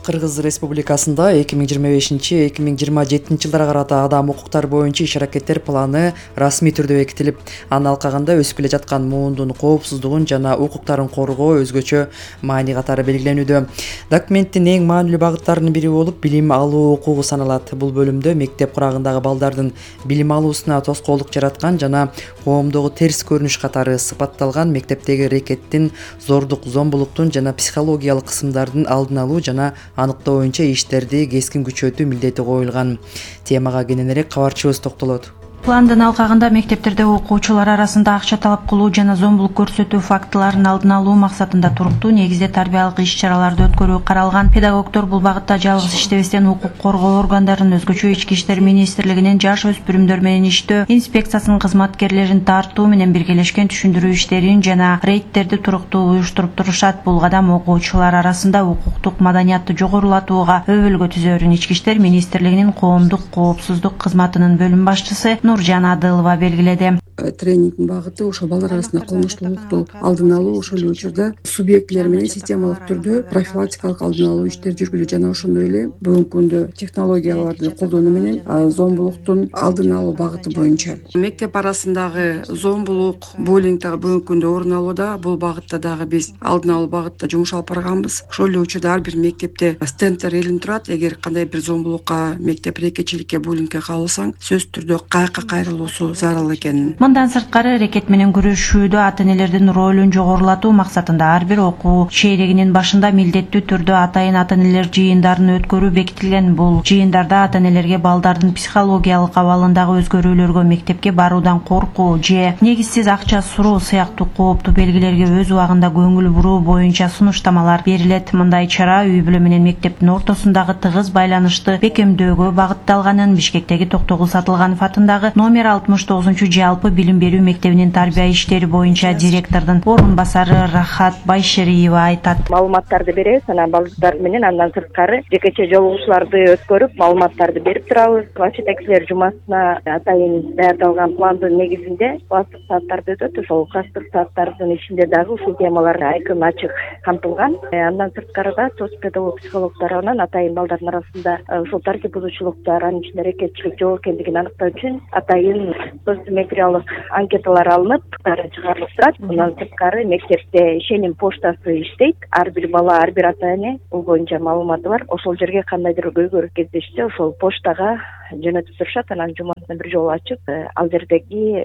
Кыргыз Республикасында 2025-2027 жылдарга карата адам укуктары боюнча иш-аракеттер планы расмий түрдө бекитилип, анын алкагында өсүп келе жаткан муундун коопсуздугун жана укуктарын коргоо өзгөчө маани катары белгиленүүдө. Документтин эң маанилүү багыттарынын бири болуп билим алуу укугу саналат. Бул бөлүмдө мектеп курагындагы балдардын билим алуусуна тоскоолдук жараткан жана коомдогу терс көрүнүш катары сыпатталган мектептеги рекеттин, зордук, зомбулуктун жана психологиялык кысымдардын алдын алуу жана аныктоо боюнча иштерди кескин күчөтүү милдети коюлган. Темага кененирээк кабарчыбыз токтолот. Пландын алкагында мектептерде окуучулар арасында акча талап кылуу жана зомбулук көрсөтүү фактыларын алдын алуу максатында туруктуу негизде тарбиялык иш-чараларды өткөрүү каралган. Педагогдор бул багытта жалгыз иштебестен укук коргоо органдарынын, өзгөчө Ички иштер министрлигинин жаш өспүрүмдөр менен иштөө инспекциясынын кызматкерлерин тартуу менен биргелешкен түшүндүрүү иштерин жана рейдтерди туруктуу уюштуруп турушат. Бул кадам окуучулар арасында укуктук маданиятты жогорулатууга өбөлгө түзөөрүн Ички иштер министрлигинин коомдук коопсуздук кызматынын бөлүм башчысы Нуржан Адылова белгиледи. Тренингдин багыты ошол балдар арасында кылмыштуулукту алдын алуу, ошол эле учурда субъектилер менен системалык түрдө профилактикалык алдын алуу иштери жүргүзүү жана ошондой эле бүгүнкү күндө технологияларды колдонуу менен зомбулуктун алдын алуу багыты боюнча. Мектеп арасындагы зомбулук, буллинг дагы бүгүнкү күндө орун алууда. Бул багытта дагы биз алдын алуу багытта жумуш алып барганбыз. Ошол эле учурда ар бир мектепте стендтер илинип турат. Эгер кандай бир зомбулукка, мектеп рекетчиликке, буллингке кабылсаң, сөзсүз түрдө каяка жакка кайрылуусу зарыл экенин. Мындан сырткары аракет менен күрөшүүдө ата энелердин ролун жогорулатуу максатында ар бир окуу чейрегинин башында милдеттүү түрдө атайын ата энелер жыйындарын өткөрүү бекитилген. Бул жыйындарда ата энелерге балдардын психологиялык абалындагы өзгөрүүлөргө, мектепке баруудан коркуу же негизсиз акча суроо сыяктуу кооптуу белгилерге өз убагында көңүл буруу боюнча сунуштамалар берилет. Мындай чара үй бүлө менен мектептин ортосундагы тыгыз байланышты бекемдөөгө багытталганын Бишкектеги Токтогул Сатылганов атындагы номер 69 жалпы билим берүү мектебинин тарбия иштери боюнча директордун орун басары Рахат Байшериева айтат. Маалыматтарды беребиз, анан балдар менен андан сырткары жекече жолугушууларды өткөрүп, маалыматтарды берип турабыз. Класс жетекчилер жумасына атайын даярдалган пландын негизинде класстык сааттарды өтөт. Ошол класстык сааттардын ичинде дагы ушул темалар айкын ачык камтылган. Андан сырткары да соц педагог психолог тарабынан атайын балдардын арасында ушул тартип бузуучулуктар, анын ичинде аракетчилик жок экендигин аныктоо үчүн атайын социометриялык анкеталар алынып, чыгарылып турат. Мындан сырткары мектепте ишеним поштасы иштейт. Ар бир бала, ар бир ата эне бул боюнча маалыматы бар. Ошол жерге кандайдыр көйгөй кездешсе, ошол поштага жөнөтүп турушат. Анан жумасына бир жолу ачып, ал жердеги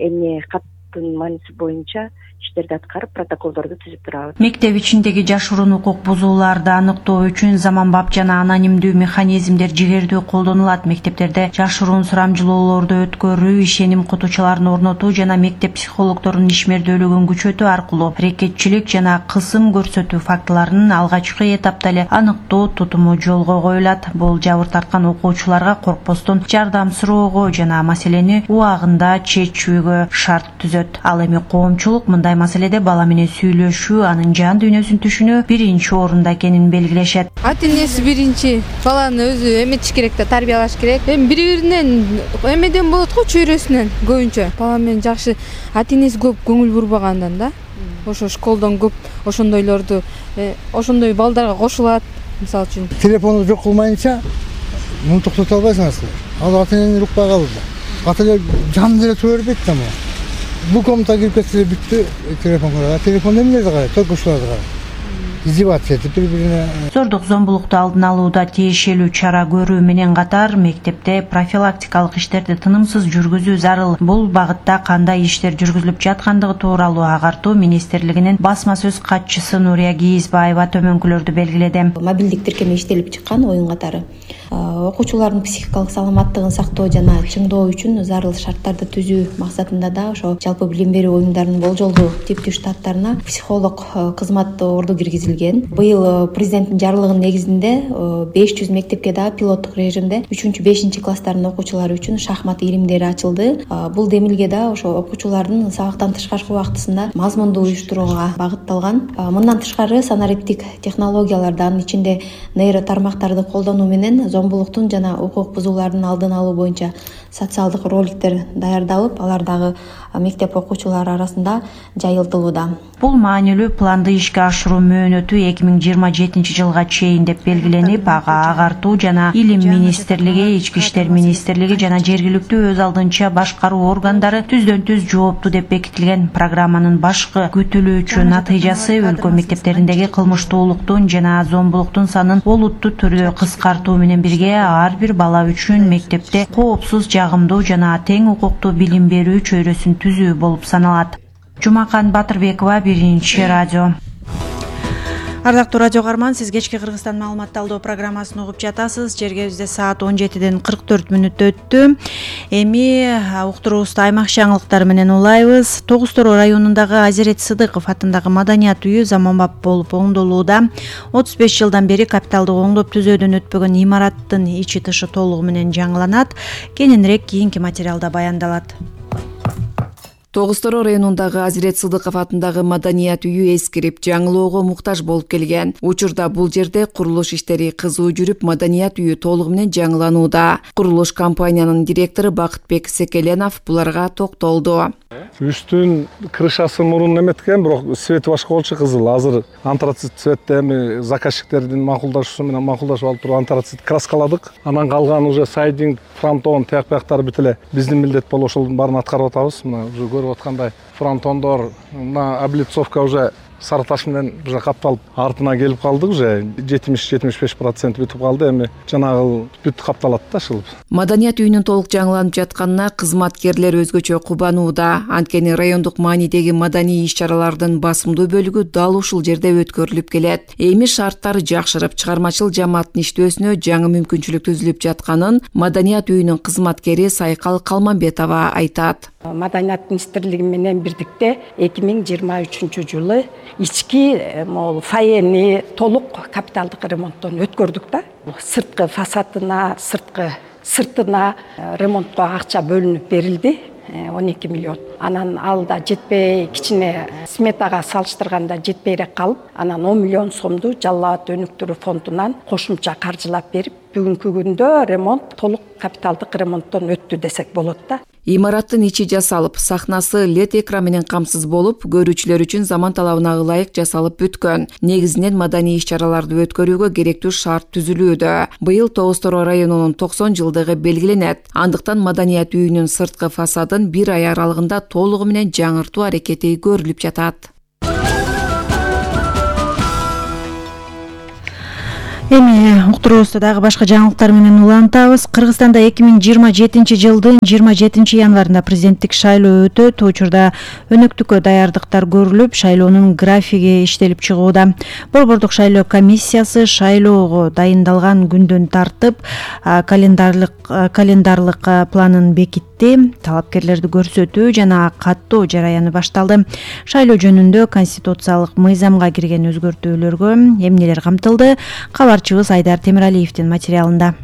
эмне каттын мааниси боюнча иштерди аткарып, протоколдорду түзүп турабыз. Мектеп ичиндеги жашыруун укук бузууларды аныктоо үчүн заманбап жана анонимдүү механизмдер жигердүү колдонулат. Мектептерде жашыруун сурамжылоолорду өткөрүү, ишеним кутучуларын орнотуу жана мектеп психологдорунун ишмердүүлүгүн күчөтүү аркылуу аракетчилик жана кысым көрсөтүү фактыларын алгачкы этапта эле аныктоо тутуму жолго коюлат. Бул жабыр тарткан окуучуларга коркпостон жардам суроого жана маселени убагында чечүүгө шарт түзөт. Ал эми коомчулук мындай маселеде бала менен сүйлөшүү, анын жан дүйнөсүн түшүнүү биринчи орунда экенин белгилешет. Ата энеси биринчи баланы өзү эметиш керек да, тарбиялаш керек. Эми бири-биринен эмеден болот го, чөйрөсүнөн көбүнчө. Бала менен жакшы ата энеси көп көңүл бурбагандан да. Ошо школдон көп ошондойлорду, ошондой балдарга кошулат. Мисалы үчүн телефонду жок кылмайынча муну токтото албайсыңар. Ал ата энени укпай калды. Ата эне жан деле тура бербейт да мына. Бул комнатага кирип кетсе бүттү, телефон карайт. Телефон эмнелерди карайт, токушууларды карайт. Издеваться этип бири-бирине. Зордук зомбулукту алдын алууда тиешелүү чара көрүү менен катар мектепте профилактикалык иштерди тынымсыз жүргүзүү зарыл. Бул багытта кандай иштер жүргүзүлүп жаткандыгы тууралуу агартуу министрлигинин басма сөз катчысы Нурия Кийизбаева төмөнкүлөрдү белгиледи. Мобилдик тиркеме иштелип чыккан оюн катары окуучулардын психикалык саламаттыгын сактоо жана чыңдоо үчүн зарыл шарттарды түзүү максатында да ошо жалпы билим берүү оюндарынын болжолдуу типтүү штаттарына психолог кызмат орду киргизилген. Быйыл президенттин жарлыгынын негизинде 500 мектепке да пилоттук режимде 3-5 класстардын окуучулары үчүн шахмат илимдери ачылды. Бул демилге да ошо окуучулардын сабактан тышкаркы убактысында мазмундуу уюштурууга багытталган. Мындан тышкары санариптик технологияларды, анын ичинде нейро тармактарды колдонуу менен зомбулуктун жана укук бузуулардын алдын алуу боюнча социалдык роликтер даярдалып, алар дагы мектеп окуучулары арасында жайылтылууда. Бул маанилүү планды ишке ашыруу мөөнөтү 2027 жылга чейин деп белгиленип, ага агартуу жана илим министрлиги, ички иштер министрлиги жана жергиликтүү өз алдынча башкаруу органдары түздөн түз жооптуу деп бекитилген. Программанын башкы күтүлүүчү натыйжасы өлкө мектептериндеги кылмыштуулуктун жана зомбулуктун санын олуттуу түрдө кыскартуу менен бирге ар бир бала үчүн мектепте коопсуз, жагымдуу жана тең укуктуу билим берүү чөйрөсүн түзүү болуп саналат. Жумакан Батырбекова, Биринчи радио. Ардактуу радио каарман, сиз кечки Кыргызстан маалымат талдоо программасын угуп жатасыз. Жергебизде саат 17:44 өттү. Эми уктуруубузду аймак жаңылыктары менен улайбыз. Тогуз Тороо районундагы Азирет Сыдыков атындагы маданият үйү заманбап болуп оңдолууда. 35 жылдан бери капиталдык оңдоп түзөөдөн өтпөгөн имараттын ичи тышы толугу менен жаңыланат. Кененирээк кийинки материалда баяндалат. Тогуз Тороо районундагы Азирет Сыдыков атындагы маданият үйү эскирип, жаңылоого муктаж болуп келген. Учурда бул жерде курулуш иштери кызуу жүрүп, маданият үйү толугу менен жаңыланууда. Курулуш компаниянын директору Бакытбек Секеленов буларга токтолду. Үстүн крышасы мурун эметкен, бирок свети башка болчу, кызыл. Азыр антрацит цветте эми заказчиктердин макулдашуусу менен макулдашып алып туруп антрацит краскаладык. Анан калган уже сайдинг, фронтон, тияк-бияктары бүт эле биздин милдет болуп ошолдун баарын аткарып атабыз. Мына уже көрүп аткандай фронтондор, мына облицовка уже сары таш менен уже капталып артына келип калдык, уже 70-75% бүтүп калды. Эми жанагы бүт капталат да ушул. Маданият үйүнүн толук жаңыланып жатканына кызматкерлер өзгөчө кубанууда. Анткени райондук маанидеги маданий иш-чаралардын басымдуу бөлүгү дал ушул жерде өткөрүлүп келет. Эми шарттар жакшырып, чыгармачыл жамааттын иштөөсүнө жаңы мүмкүнчүлүк түзүлүп жатканын Маданият үйүнүн кызматкери Сайкал Калманбетова айтат. Маданият министрлиги менен бирдикте 2023 жылы ички фойени толук капиталдык ремонттон өткөрдүк да. Сырткы фасадына, сыртына ремонтко акча бөлүнүп берилди. 12 миллион. Анан ал да жетпей, кичине сметага салыштырганда жетпейрээк калып, анан 10 миллион сомду Жалал абад өнүктүрүү фондунан кошумча каржылап берип, бүгүнкү күндө ремонт толук капиталдык ремонттон өттү десек болот да. Имараттын ичи жасалып, сахнасы LED экран менен камсыз болуп, көрүүчүлөр үчүн заман талабына ылайык жасалып бүткөн. Негизинен маданий иш-чараларды өткөрүүгө керектүү шарт түзүлүүдө. Быйыл Тоос Тороо районунун 90 жылдыгы белгиленет. Андыктан Маданият үйүнүн сырткы фасадын 1 ай аралыгында толугу менен жаңыртуу аракети көрүлүп жатат. Эми уктуруубузду дагы башка жаңылыктар менен улантабыз. Кыргызстанда 2027 жылдын 27 январында президенттик шайлоо өтөт. Учурда өнөктүккө даярдыктар көрүлүп, шайлоонун графиги иштелип чыгууда. Борбордук шайлоо комиссиясы шайлоого дайындалган күндөн тартып календарлык планын бекитти. Талапкерлерди көрсөтүү жана каттоо жараяны башталды. Шайлоо жөнүндө конституциялык мыйзамга кирген өзгөртүүлөргө эмнелер камтылды? Кабарчыбыз Айдар Темиралиевдин материалында.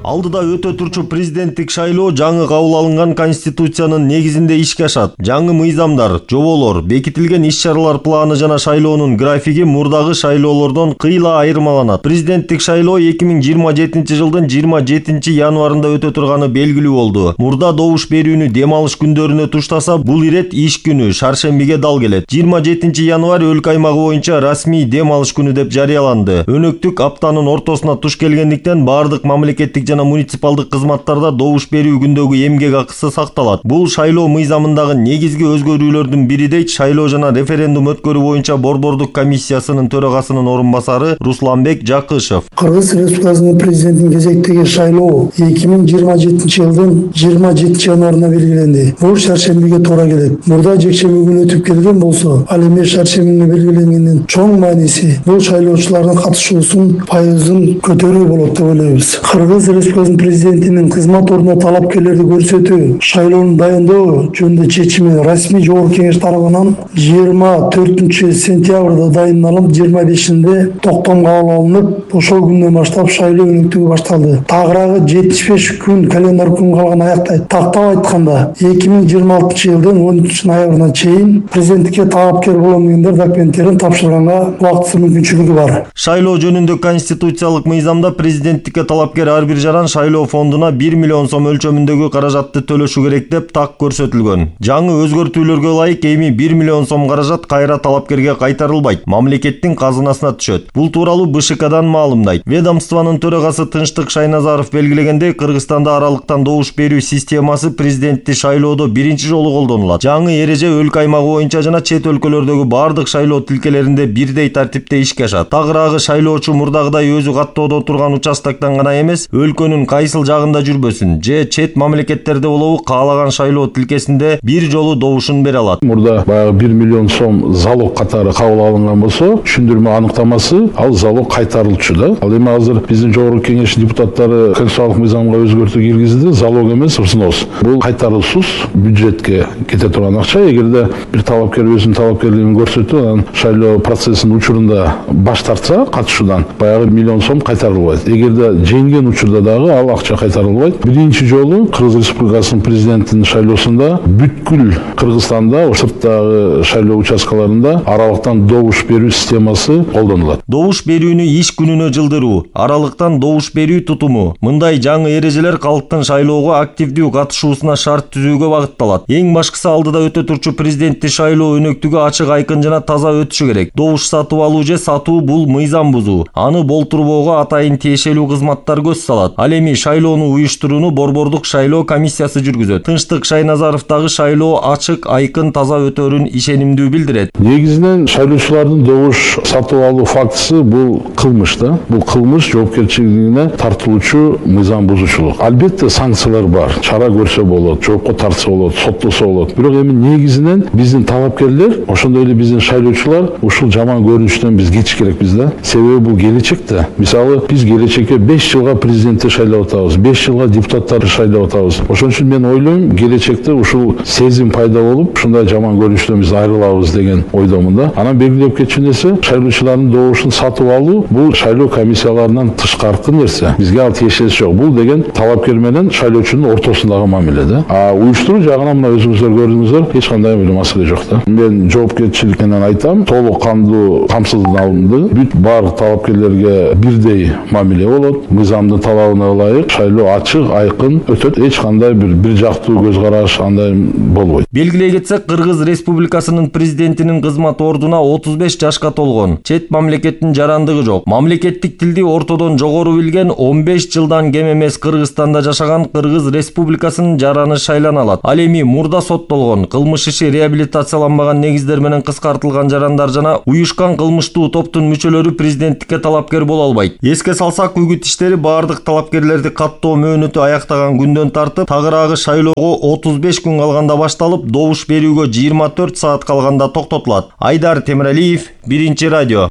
Алдыда өтө турчу президенттик шайлоо жаңы кабыл алынган конституциянын негизинде ишке ашат. Жаңы мыйзамдар, жоболор, бекитилген иш-чаралар планы жана шайлоонун графиги мурдагы шайлоолордон кыйла айырмаланат. Президенттик шайлоо 2027 жылдын 27 январында өтө турганы белгилүү болду. Мурда добуш берүүнү дем алыш күндөрүнө туштаса, бул ирет иш күнү шаршембиге дал келет. 27 январь өлкө аймагы боюнча расмий дем алыш күнү деп жарыяланды. Өнөктүк аптанын ортосуна туш келгендиктен бардык мамлекеттик жана муниципалдык кызматтарда добуш берүү күндөгү эмгек акысы сакталат. Бул шайлоо мыйзамындагы негизги өзгөрүүлөрдүн бири дейт шайлоо жана референдум өткөрүү боюнча борбордук комиссиясынын төрагасынын орун басары Русланбек Жакышев. Кыргыз Республикасынын президентин кезектеги шайлоо 2027 жылдын 27 январына белгиленди. Бул шаршембиге туура келет. Мурда жекшемби күнү өтүп келген болсо, ал эми шаршембиге белгиленгендин чоң мааниси бул шайлоочулардын катышуусун пайызын көтөрүү болот деп ойлойбуз. Кыргыз Республикасынын президентинин кызмат ордуна талапкерлерди көрсөтүү, шайлоону дайындоо жөнүндө чечими расмий жогорку кеңеш тарабынан 24 сентябрда дайындалып, 25-inde токтом кабыл алынып, ошол күндөн баштап шайлоо өнөктүгү башталды. Тагыраагы 75 күн календар күн калган аяктайт. Тактап айтканда, 2026 жылдын 13 ноябрына чейин президенттикке талапкер болгондор документтерин тапшырганга убактысыз мүмкүнчүлүгү бар. Шайлоо жөнүндө конституциялык мыйзамда президенттикке талапкер ар бир жаран шайлоо фондуна 1 миллион сом өлчөмүндөгү каражатты төлөшү керек деп так көрсөтүлгөн. Жаңы өзгөртүүлөргө ылайык эми 1 миллион сом каражат кайра талапкерге кайтарылбайт, мамлекеттин казынасына түшөт. Бул тууралуу БШКдан маалымдайт. Ведомствонун төрагасы Тынчтык Шайназаров белгилегендей, Кыргызстанда аралыктан добуш берүү системасы президенттик шайлоодо биринчи жолу колдонулат. Жаңы эреже өлкө аймагы боюнча жана чет өлкөлөрдөгү бардык шайлоо тилкелеринде бирдей тартипте ишке ашат. Тагыраагы шайлоочу мурдагыдай өзү каттоодо турган участоктон гана эмес, өлкөнүн кайсыл жагында жүрбөсүн же чет мамлекеттерде болобу каалаган шайлоо тилкесинде бир жолу добушун бере алат. Мурда баягы 1 миллион сом залог катары кабыл алынган болсо, түшүндүрмө аныктамасы ал залог кайтарылчу да. Ал эми азыр биздин жогорку кеңеш депутаттары конституциялык мыйзамга өзгөртүү киргизди, залог эмес, взнос. Бул кайтарылуусуз бюджетке кете турган акча. Эгерде бир талапкер өзүнүн талапкерлигин көрсөтүп, анан шайлоо процессинин учурунда баш тартса катышуудан, баягы 1 миллион сом кайтарылбайт. Эгерде жеңген учурда дагы ал акча кайтарылбайт. Биринчи жолу Кыргыз Республикасынын президентинин шайлоосунда бүткүл Кыргызстанда сырттагы шайлоо участкаларында аралыктан добуш берүү системасы колдонулат. Добуш берүүнү иш күнүнө жылдыруу, аралыктан добуш берүү тутуму. Мындай жаңы эрежелер калктын шайлоого активдүү катышуусуна шарт түзүүгө багытталат. Эң башкысы алдыда өтө турчу президенттик шайлоо өнөктүгү ачык, айкын жана таза өтүшү керек. Добуш сатып алуу же сатуу бул мыйзам бузуу. Аны болтурбоого атайын тиешелүү кызматтар көз салат. алат. Ал эми шайлоону уюштурууну Борбордук шайлоо комиссиясы жүргүзөт. Тынчтык Шайназаровдагы шайлоо ачык, айкын, таза өтөөрүн ишенимдүү билдирет. Негизинен шайлоочулардын добуш сатып алуу фактысы бул кылмыш да. Бул кылмыш жоопкерчилигине тартылуучу мыйзам бузуучулук. Албетте санкциялар бар. Чара көрсө болот, жоопко тартса болот, соттолсо болот. Бирок эми негизинен биздин талапкерлер, ошондой эле биздин шайлоочулар ушул жаман көрүнүштөн биз кетиш керекпиз да. Себеби бул келечекте. Мисалы биз келечекке 5 жылга президентти шайлап атабыз, 5 жылга депутаттарды шайлап атабыз. Ошон үчүн мен ойлойм, келечекте ушул сезим пайда болуп, ушундай жаман көрүнүштөн биз айрылабыз деген ойдомун да. Анан белгилеп кетчү нерсе, шайлоочулардын добушун сатып алуу бул шайлоо комиссияларынан тышкаркы нерсе. Бизге ал тиешеси жок. Бул деген талапкер менен шайлоочунун ортосундагы мамиле да. Уюштуруу жагынан мына өзүңүздөр көрдүңүздөр, эч кандай маселе жок да. Мен жоопкерчилик менен айтам, толук кандуу камсыздалынды. Бүт баардык талапкерлерге бирдей мамиле болот. Мыйзамдын талабына ылайык шайлоо ачык, айкын өтөт. Эч кандай бир жактуу көз караш андай болбойт. Белгилей кетсек, Кыргыз Республикасынын президентинин кызмат ордуна 35 жашка толгон. Чет мамлекеттин жарандыгы жок. Мамлекеттик тилди ортодон жогору билген 15 жылдан кем эмес Кыргызстанда жашаган Кыргыз Республикасынын жараны шайлана алат. Ал эми мурда соттолгон, кылмыш иши реабилитацияланбаган негиздер менен кыскартылган жарандар жана уюшкан кылмыштуу топтун мүчөлөрү президенттикке талапкер боло албайт. Эске салсак, үгүт иштери баардык талапкерлерди каттоо мөөнөтү аяктаган күндөн тартып, тагыраагы шайлоого 35 күн калганда башталып, добуш берүүгө 24 саат калганда токтотулат. Айдар Темиралиев, Биринчи радио.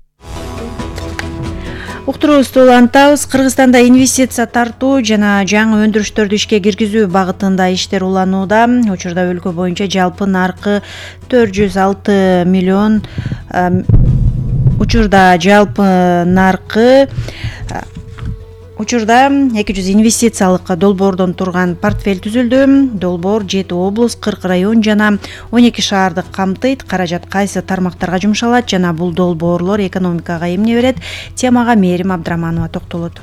Уктуруубузду улантабыз. Кыргызстанда инвестиция тартуу жана жаңы өндүрүштөрдү ишке киргизүү багытында иштер уланууда. Учурда өлкө боюнча жалпы наркы 406 миллион. Учурда 200 инвестициялык долбоордон турган портфель түзүлдү. Долбоор 7 облус, 40 район жана 12 шаарды камтыйт. Каражат кайсы тармактарга жумшалат жана бул долбоорлор экономикага эмне берет? Темага Мээрим Абдраманова токтолот.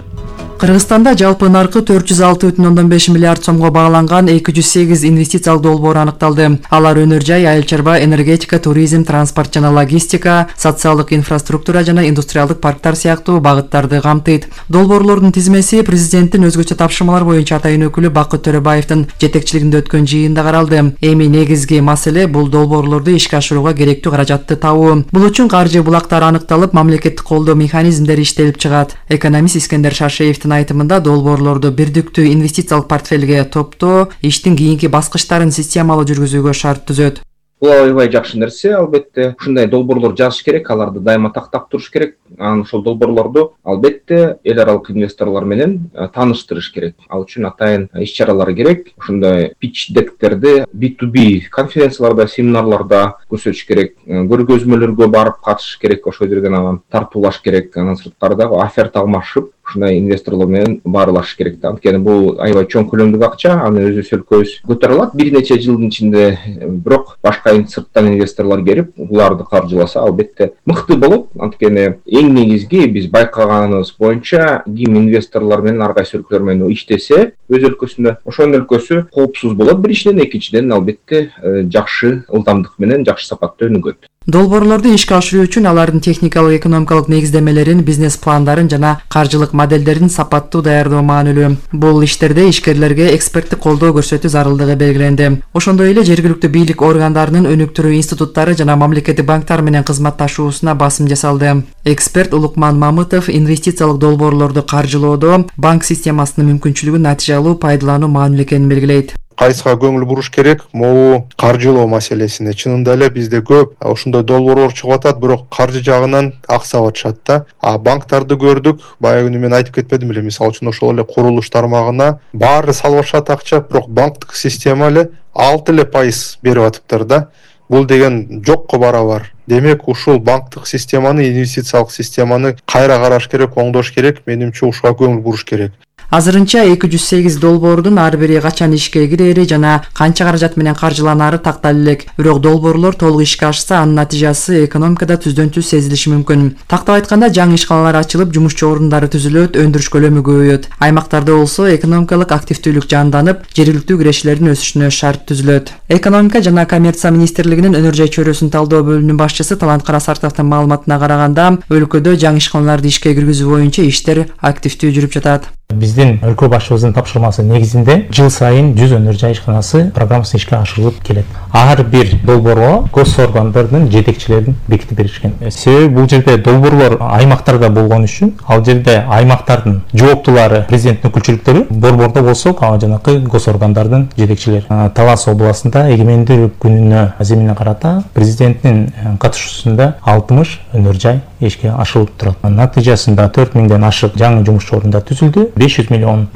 Кыргызстанда жалпы наркы 406,5 миллиард сомго багланган 208 инвестициялык долбоор аныкталды. Алар өнөр жай, айыл чарба, энергетика, туризм, транспорт жана логистика, социалдык инфраструктура жана индустриалдык парктар сыяктуу багыттарды камтыйт. Долбоорлордун тизмеси президенттин өзгөчө тапшырмалар боюнча атайын өкүлү Бакыт Төрөбаевдин жетекчилигинде өткөн жыйында каралды. Эми негизги маселе бул долбоорлорду ишке ашырууга керектүү каражатты табуу. Бул үчүн каржы булактары аныкталып, мамлекеттик колдоо механизмдери иштелип чыгат. Экономист Искендер Шаршеевдин айтымында долбоорлорду бирдиктүү инвестициялык портфелге топтоо иштин кийинки баскычтарын системалуу жүргүзүүгө шарт түзөт. Бул аябай жакшы нерсе, албетте. Ушундай долбоорлор жазыш керек, аларды дайыма тактап туруш керек. Анан ошол долбоорлорду албетте эл аралык инвесторлор менен тааныштырыш керек. Ал үчүн атайын иш-чаралар керек. Ушундай pitch deckтерди B2B конференцияларда, семинарларда көрсөтүш керек. Көргөзмөлөргө барып катышыш керек, ошол жерден анан тартуулаш керек. Анан сырткарда оферта алмашып, ушундай инвесторлор менен баарлашыш керек да. Анткени бул аябай чоң көлөмдүк акча, аны өзүбүз өлкөбүз көтөрө алат бир нече жылдын ичинде. Бирок башка сырттан инвесторлор келип, буларды каржыласа албетте мыкты болот. Анткени эң негизги биз байкаганыбыз боюнча ким инвесторлор менен ар кайсы өлкөлөр менен иштесе өз өлкөсүндө, ошонун өлкөсү коопсуз болот биринчиден, экинчиден албетте жакшы ылдамдык менен жакшы сапатта өнүгөт. Долбоорлорду ишке ашыруу үчүн алардын техникалык, экономикалык негиздемелерин, бизнес пландарын жана каржылык модельдерин сапаттуу даярдоо маанилүү. Бул иштерде ишкерлерге эксперттик колдоо көрсөтүү зарылдыгы белгиленди. Ошондой эле жергиликтүү бийлик органдарынын өнүктүрүү институттары жана мамлекеттик банктар менен кызматташуусуна басым жасалды. Эксперт Улукман Мамытов инвестициялык долбоорлорду каржылоодо банк системасынын мүмкүнчүлүгүн натыйжалуу пайдалануу маанилүү экенин белгилейт. Кайсыга көңүл буруш керек? Могу каржылоо маселесине. Чынында эле бизде көп ошондой долбоорлор чыгып атат, бирок каржы жагынан аксап атышат да. Банктарды көрдүк, баягы мен айтып кетпедим эле, мисалы үчүн ошол эле курулуш тармагына баары салышат акча, бирок банктык система эле 6% берип атыптыр да. Бул деген жокко барабар. Демек, ушул банктык системаны, инвестициялык системаны кайра караш керек, оңдош керек, менимче ушуга көңүл буруш керек. Азырынча 208 долбоордун ар бири качан ишке кирери жана канча каражат менен каржыланары тактала элек. Бирок долбоорлор толук ишке ашса, анын натыйжасы экономикада түздөн түз сезилиши мүмкүн. Тактап айтканда, жаңы ишканалар ачылып, жумушчу орундары түзүлөт, өндүрүш көлөмү көбөйөт. Аймактарда болсо экономикалык активдүүлүк жанданып, жергиликтүү кирешилердин өсүшүнө шарт түзүлөт. Экономика жана коммерция министрлигинин өнөр жай чөйрөсүн талдоо бөлүмүнүн башчысы Талант Карасартовдун маалыматына караганда, өлкөдө жаңы ишканаларды ишке киргизүү боюнча иштер активдүү жүрүп жатат. Биздин өлкө башчыбыздын тапшырмасы негизинде жыл сайын 100 өнөр жай ишканасы программасы ишке ашырылып келет. Ар бир долбоорго гос органдардын жетекчилерин бекитип беришкен. Себеби бул жерде долбоорлор аймактарда болгон үчүн, ал жерде аймактардын жооптулары, президенттин өкүлчүлүктөрү, борбордо болсо жанакы гос органдардын жетекчилери. Талас областында эгемендүүлүк күнүнө аземине карата президенттин катышуусунда 60 өнөр жай ишке ашырылып турат. Натыйжасында 4000ден ашык жаңы жумуш орундар түзүлдү. $500 миллион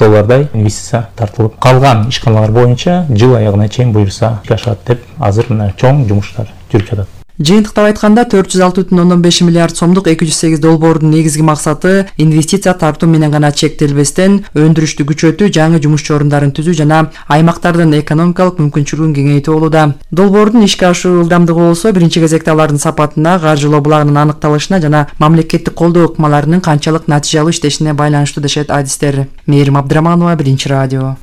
инвестиция тартылып, калган ишканалар боюнча жыл аягына чейин буюрса ишке ашат деп азыр мына чоң жумуштар жүрүп жатат. Жыйынтыктап айтканда 406,5 миллиард сомдук 208 долбоордун негизги максаты инвестиция тартуу менен гана чектелбестен өндүрүштү күчөтүү, жаңы жумуш орундарын түзүү жана аймактардын экономикалык мүмкүнчүлүгүн кеңейтүү болууда. Долбоордун ишке ашуу ылдамдыгы болсо биринчи кезекте алардын сапатына, каржылоо булагынын аныкталышына жана мамлекеттик колдоо ыкмаларынын канчалык натыйжалуу иштешине байланыштуу дешет адистер. Мээрим Абдыраманова, Биринчи радио.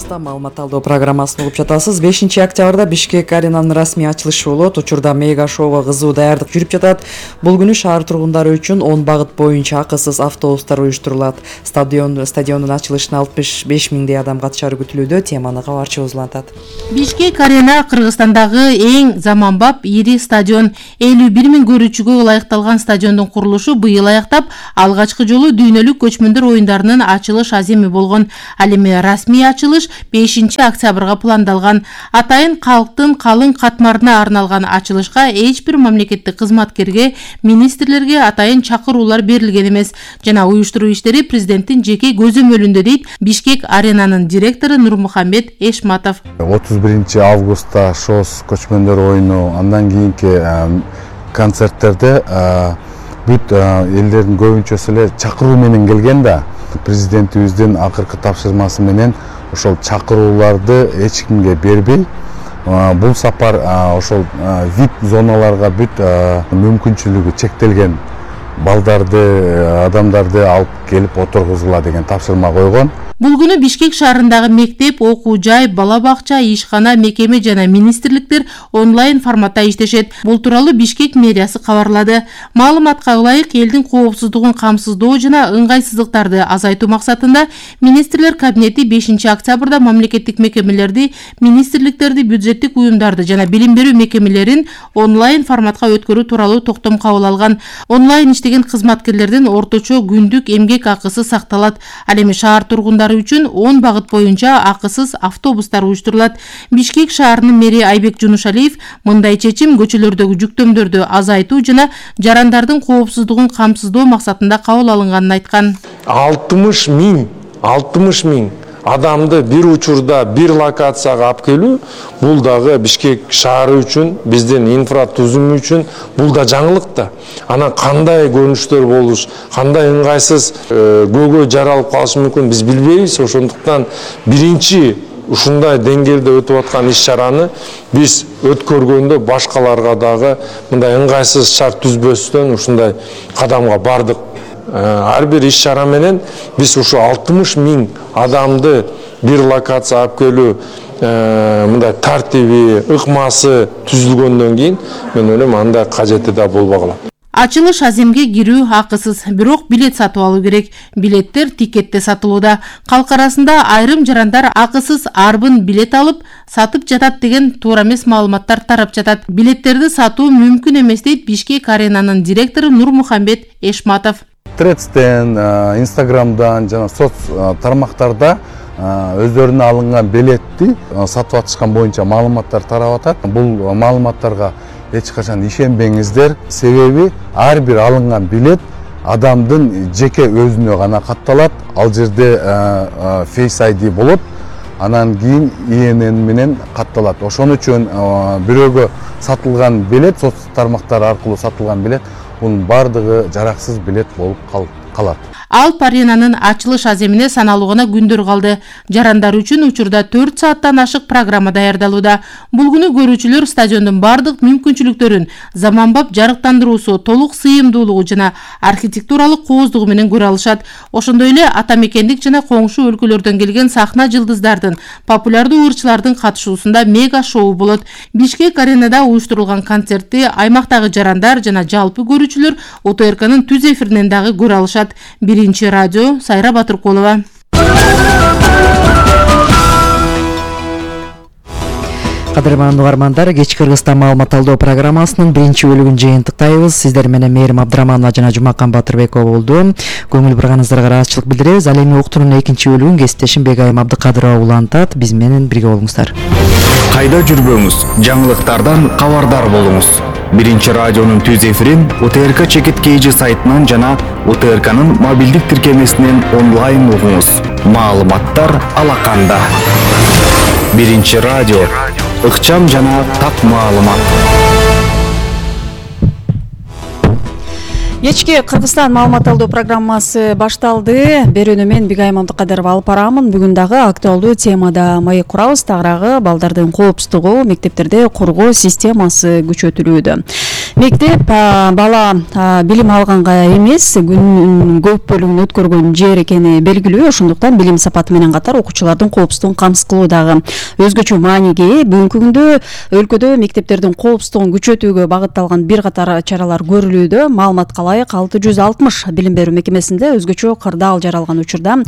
Маалымат алдоо программасын угуп жатасыз. 5-октябрда Бишкек аренанын расмий ачылышы болот. Учурда мега шоуга кызуу даярдык жүрүп жатат. Бул күнү шаар тургундары үчүн 10 багыт боюнча акысыз автобустар уюштурулат. Стадиондун ачылышына 65 миңдей адам катышары күтүлүүдө. Теманы кабарчыбыз улантат. Бишкек арена Кыргызстандагы эң заманбап ири стадион. 51 миң көрүүчүгө ылайыкталган стадиондун курулушу быйыл аяктап, алгачкы жолу дүйнөлүк көчмөндөр оюндарынын ачылыш аземи болгон. Ал эми расмий ачылыш 5-октябрга пландалган. Атайын калктын калың катмарына арналган ачылышка эч бир мамлекеттик кызматкерге, министрлерге атайын чакыруулар берилген эмес. Жана уюштуруу иштери президенттин жеке көзөмөлүндө дейт Бишкек аренанын директору Нурмухамбет Эшматов. 31 августта ШОС көчмөндөр оюну, андан кийинки концерттерде бүт элдердин көбүнчөсү эле чакыруу менен келген да. Президентибиздин акыркы тапшырмасы менен ошол чакырууларды эч кимге бербей, бул сапар ошол вип зоналарга бүт мүмкүнчүлүгү чектелген балдарды, адамдарды алып келип отургузгула деген тапшырма койгон. Бул күнү Бишкек шаарындагы мектеп, окуу жай, бала бакча, ишкана, мекеме жана министрликтер онлайн форматта иштешет. Бул тууралуу Бишкек мэриясы кабарлады. Маалыматка ылайык, элдин коопсуздугун камсыздоо жана ыңгайсыздыктарды азайтуу максатында министрлер кабинети 5-октябрда мамлекеттик мекемелерди, министрликтерди, бюджеттик уюмдарды жана билим берүү мекемелерин онлайн форматка өткөрүү тууралуу токтом кабыл алган. Онлайн иштеген кызматкерлердин орточо күндүк эмгек акысы сакталат. Ал эми шаар тургундары үчүн 10 багыт боюнча акысыз автобустар уюштурулат. Бишкек шаарынын мэри Айбек Жунушалиев мындай чечим көчөлөрдөгү жүктөмдөрдү азайтуу жана жарандардын коопсуздугун камсыздоо максатында кабыл алынганын айткан. 60 миң адамды бир учурда бир локацияга алып келүү, бул дагы Бишкек шаары үчүн, биздин инфратузум үчүн бул да жаңылык да. Анан кандай көрүнүштөр болуш, кандай ыңгайсыз көйгөй жаралып калышы мүмкүн биз билбейбиз. Ошондуктан биринчи ушундай деңгээлде өтүп аткан иш-чараны биз өткөргөндө башкаларга дагы мындай ыңгайсыз шарт түзбөстөн ушундай кадамга бардык. Ар бир иш-чара менен биз ушу 60 миң адамды бир локация алып келүү мындай тартиби, ыкмасы түзүлгөндөн кийин мен ойлойм андай кажети да болбой калат. Ачылыш аземге кирүү акысыз, бирок билет сатып алуу керек. Билеттер тикетте сатылууда. Калк арасында айрым жарандар акысыз арбын билет алып сатып жатат деген туура эмес маалыматтар тарап жатат. Билеттерди сатуу мүмкүн эмес дейт Бишкек аренанын директору Нурмухамбет Эшматов. Тредстен, Инстаграмдан жана соц тармактарда өздөрүнө алынган билетти сатып атышкан боюнча маалыматтар тарап атат. Бул маалыматтарга эч качан ишенбеңиздер. Себеби ар бир алынган билет адамдын жеке өзүнө гана катталат. Ал жерде Face ID болот. Анан кийин INN менен катталат. Ошон үчүн бирөөгө сатылган билет, соц тармактар аркылуу сатылган билет, бунун бардыгы жараксыз билет болуп калат. Алп аренанын ачылыш аземине саналуу гана күндөр калды. Жарандар үчүн учурда 4 сааттан ашык программа даярдалууда. Бул күнү көрүүчүлөр стадиондун бардык мүмкүнчүлүктөрүн, заманбап жарыктандыруусу, толук сыйымдуулугу жана архитектуралык кооздугу менен көрө алышат. Ошондой эле ата мекендик жана коңшу өлкөлөрдөн келген сахна жылдыздардын, популярдуу ырчылардын катышуусунда мега шоу болот. Бишкек аренада уюштурулган концертти аймактагы жарандар жана жалпы көрүүчүлөр ОТРКнын түз эфиринен дагы көрө алышат. Биринчи радио, Сайра Батыркулова. Кадырман угармандар, кеч Кыргызстан маалымат алуу программасынын биринчи бөлүгүн жыйынтыктайбыз. Сиздер менен Мээрим Абдыраманова жана Жумакан Батырбекова болду. Көңүл бурганыңыздарга ыраазычылык билдиребиз. Ал эми уктуруунун экинчи бөлүгүн кесиптешим Бегайым Абдыкадырова улантат. Биз менен бирге болуңуздар. Кайда жүрбөңүз, жаңылыктардан кабардар болуңуз. Биринчи радионун түз эфирин УТРК Чекит KG сайтынан жана УТРКнын мобилдик тиркемесинен онлайн угуңуз. Маалыматтар алаканда. Биринчи радио, ыкчам жана так маалымат. Кечки Кыргызстан маалымат алуу программасы башталды. Берүүнү мен Бигайым Абдыкадырова алып барамын. Бүгүн дагы актуалдуу темада маек курабыз. Тагыраагы балдардын коопсуздугу, мектептерде коргоо системасы күчөтүлүүдө. Мектеп бала билим алганга эмес, күнүнүн көп бөлүгүн өткөргөн жер экени белгилүү. Ошондуктан билим сапаты менен катар окуучулардын коопсуздугун камсыз кылуу дагы өзгөчө мааниге ээ. Бүгүнкү күндө өлкөдө мектептердин коопсуздугун күчөтүүгө багытталган бир катар чаралар көрүлүүдө. Маалыматка ылайык 660 билим берүү мекемесинде өзгөчө кырдаал жаралган учурда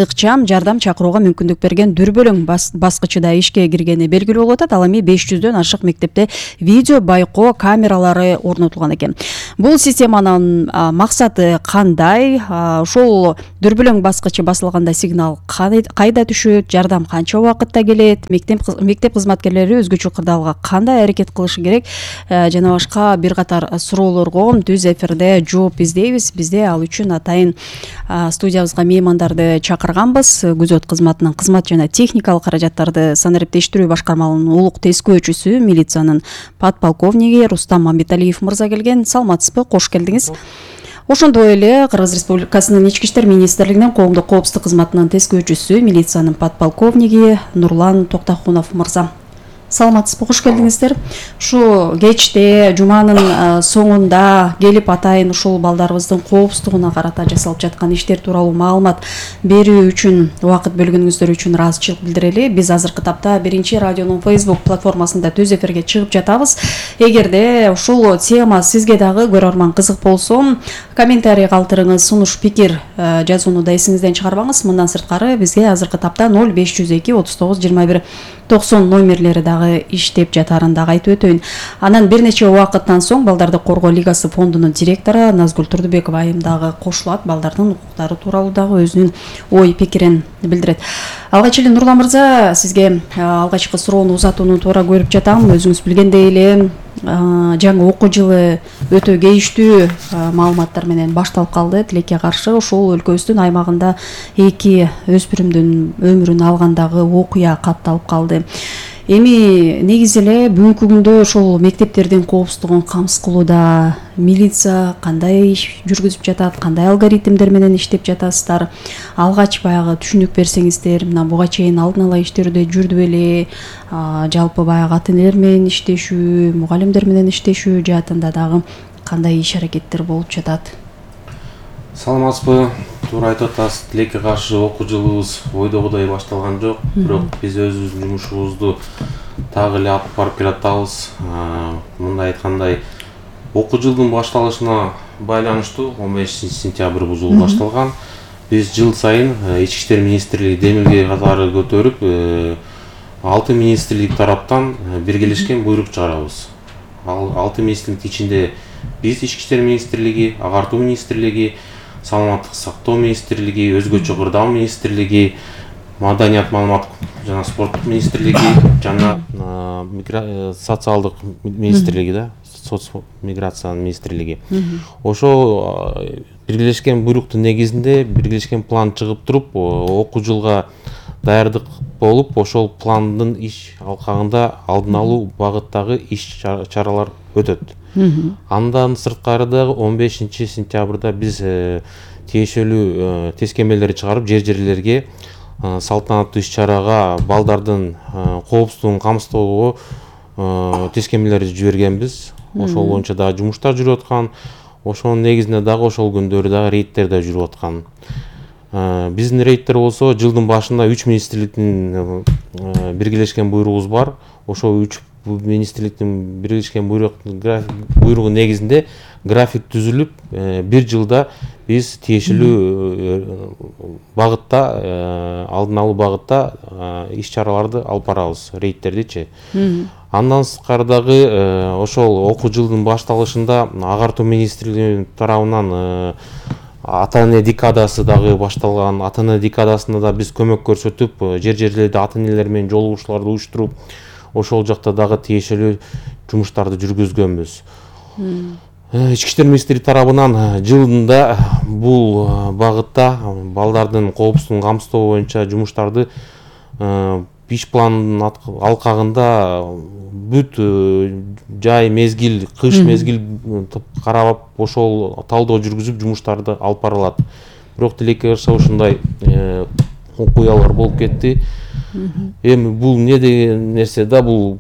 ыкчам жардам чакырууга мүмкүндүк берген дүрбөлөң баскычыда ишке киргени белгилүү болуп атат. Ал эми 500дөн ашык мектепте видео байкоо камералары орнотулган экен. Бул системанын максаты кандай? Ошол дүрбөлөң баскычы басылганда сигнал кайда түшөт, жардам канча убакытта келет, мектеп кызматкерлери өзгөчө кырдаалга кандай аракет кылышы керек жана башка бир катар суроолорго түз эфирде жооп издейбиз. Бизде ал үчүн атайын студиябызга меймандарды чакырганбыз. Күзөт кызматынын кызмат жана техникалык каражаттарды санариптештирүү башкармалыгынын улук тескөөчүсү, милициянын подполковниги Рустам Мамбеталиев мырза келген. Саламатсызбы? Кош келдиңиз. Ошондой эле Кыргыз Республикасынын Ички иштер министрлигинин коомдук коопсуздук кызматынын тескөөчүсү, милициянын подполковниги Нурлан Токтохунов мырза. Саламатсызбы? Кош келдиңиздер. Ушу кечте жуманын соңунда келип атайын ушул балдарыбыздын коопсуздугуна карата жасалып жаткан иштер тууралуу маалымат берүү үчүн убакыт бөлгөнүңүздөр үчүн ыраазычылык билдирели. Биз азыркы тапта Биринчи радионун Facebook платформасында түз эфирге чыгып жатабыз. Эгерде ушул тема сизге дагы көрөрман кызык болсо, комментарий калтырыңыз, сунуш пикир жазууну да эсиңизден чыгарбаңыз. Мындан сырткары бизге азыркы тапта 0502 39 21 90 номерлери дагы иштеп жатарын дагы айтып өтөйүн. Анан бир нече убакыттан соң Балдарды коргоо лигасы фондунун директору Назгүл Турдубекова айым дагы кошулат. Балдардын укуктары тууралуу дагы өзүнүн ой пикирин билдирет. Алгач эле Нурлан мырза, сизге алгачкы суроону узатууну туура көрүп жатам. Өзүңүз билгендей эле жаңы окуу жылы өтө кейиштүү маалыматтар менен башталып калды. Тилекке каршы ошол өлкөбүздүн аймагында 2 өспүрүмдүн өмүрүн алгандагы окуя катталып калды. Эми негизи эле бүгүнкү күндө ошол мектептердин коопсуздугун камсыз кылууда милиция кандай иш жүргүзүп жатат, кандай алгоритмдер менен иштеп жатасыздар? Алгач баягы түшүнүк берсеңиздер, мына буга чейин алдын ала иштерде жүрдү беле, жалпы баягы ата-энелер менен иштешүү, мугалимдер менен иштешүү жаатында дагы кандай иш аракеттер болуп жатат? Саламатсызбы? Туура айтып атасыз. Тилекке каршы окуу жылыбыз ойдогудай башталган жок. Бирок биз өзүбүздүн жумушубузду дагы эле алып барып келатабыз. Мындай айткандай, окуу жылдын башталышына байланыштуу 15 сентябрь бул жыл башталган. Биз жыл сайын Ички иштер министрлиги демилге катары көтөрүп, 6 министрлик тараптан биргелешкен буйрук чыгарабыз. Ал 6 министрликтин ичинде биз Ички иштер министрлиги, агартуу министрлиги, саламаттык сактоо министрлиги, өзгөчө кырдаал министрлиги, маданият, маалымат жана спорт министрлиги жана социалдык министрлиги да, миграция министрлиги. Ошол биргелешкен буйруктун негизинде биргелешкен план чыгып туруп, окуу жылга даярдык болуп, ошол пландын иш алкагында алдын алуу багыттагы иш чаралар өтөт. Андан сырткары дагы 15 сентябрда биз тиешелүү тескемелерди чыгарып, жер-жерлерге салтанаттуу иш-чарага балдардын коопсуздугун камсыздоого тескемелерди жибергенбиз. Ошол боюнча дагы жумуштар жүрүп аткан. Ошонун негизинде дагы ошол күндөрү дагы рейдтер да жүрүп аткан. Биздин рейдтер болсо жылдын башында 3 министрликтин биргелешкен буйругубуз бар. Ошол 3 бул министрликтин биригишкен буйругу негизинде график түзүлүп, бир жылда биз тиешелүү багытта, алдын алуу багытта иш чараларды алып барабыз, рейдтердичи. Андан сырткары дагы ошол окуу жылдын башталышында агартуу министрлиги тарабынан ата-эне декадасы дагы башталган. Ата-эне декадасында да биз көмөк көрсөтүп, жерлерде ата-энелер менен жолугушууларды уюштуруп, ошол жакта дагы тиешелүү жумуштарды жүргүзгөнбүз. Ички иштер министрлиги тарабынан жылында бул багытта балдардын коопсуздугун камсыздоо боюнча жумуштарды иш планынын алкагында бүт жай мезгил, кыш мезгил карап, ошол талдоо жүргүзүп жумуштарды алып барылат. Бирок тилекке каршы ушундай окуялар болуп кетти. Эми бул не деген нерсе да, бул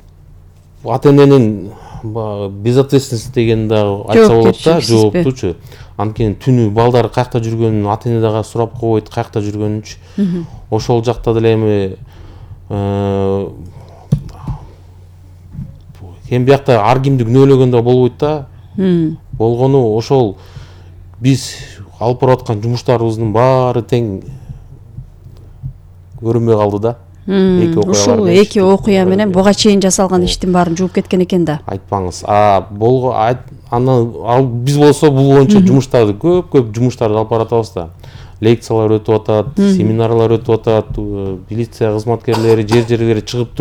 ата-эненин безответственность деген дагы айтса болот да, жооптучу. Анткени түнү балдар каякта жүргөнүн ата-эне дагы сурап койбойт, каякта жүргөнүнчү. Ошол жакта деле эми эми биякта ар кимди күнөөлөгөн да болбойт да. Болгону ошол биз алып барып аткан жумуштарыбыздын баары тең көрүнбөй калды да. Ушул эки окуя менен буга чейин жасалган иштин баарын жууп кеткен экен да. Айтпаңыз. Анан биз болсо бул боюнча жумуштарды көп жумуштарды алып баратабыз да. Лекциялар өтүп атат, семинарлар өтүп атат, милиция кызматкерлери жер-жерлерге чыгып туруп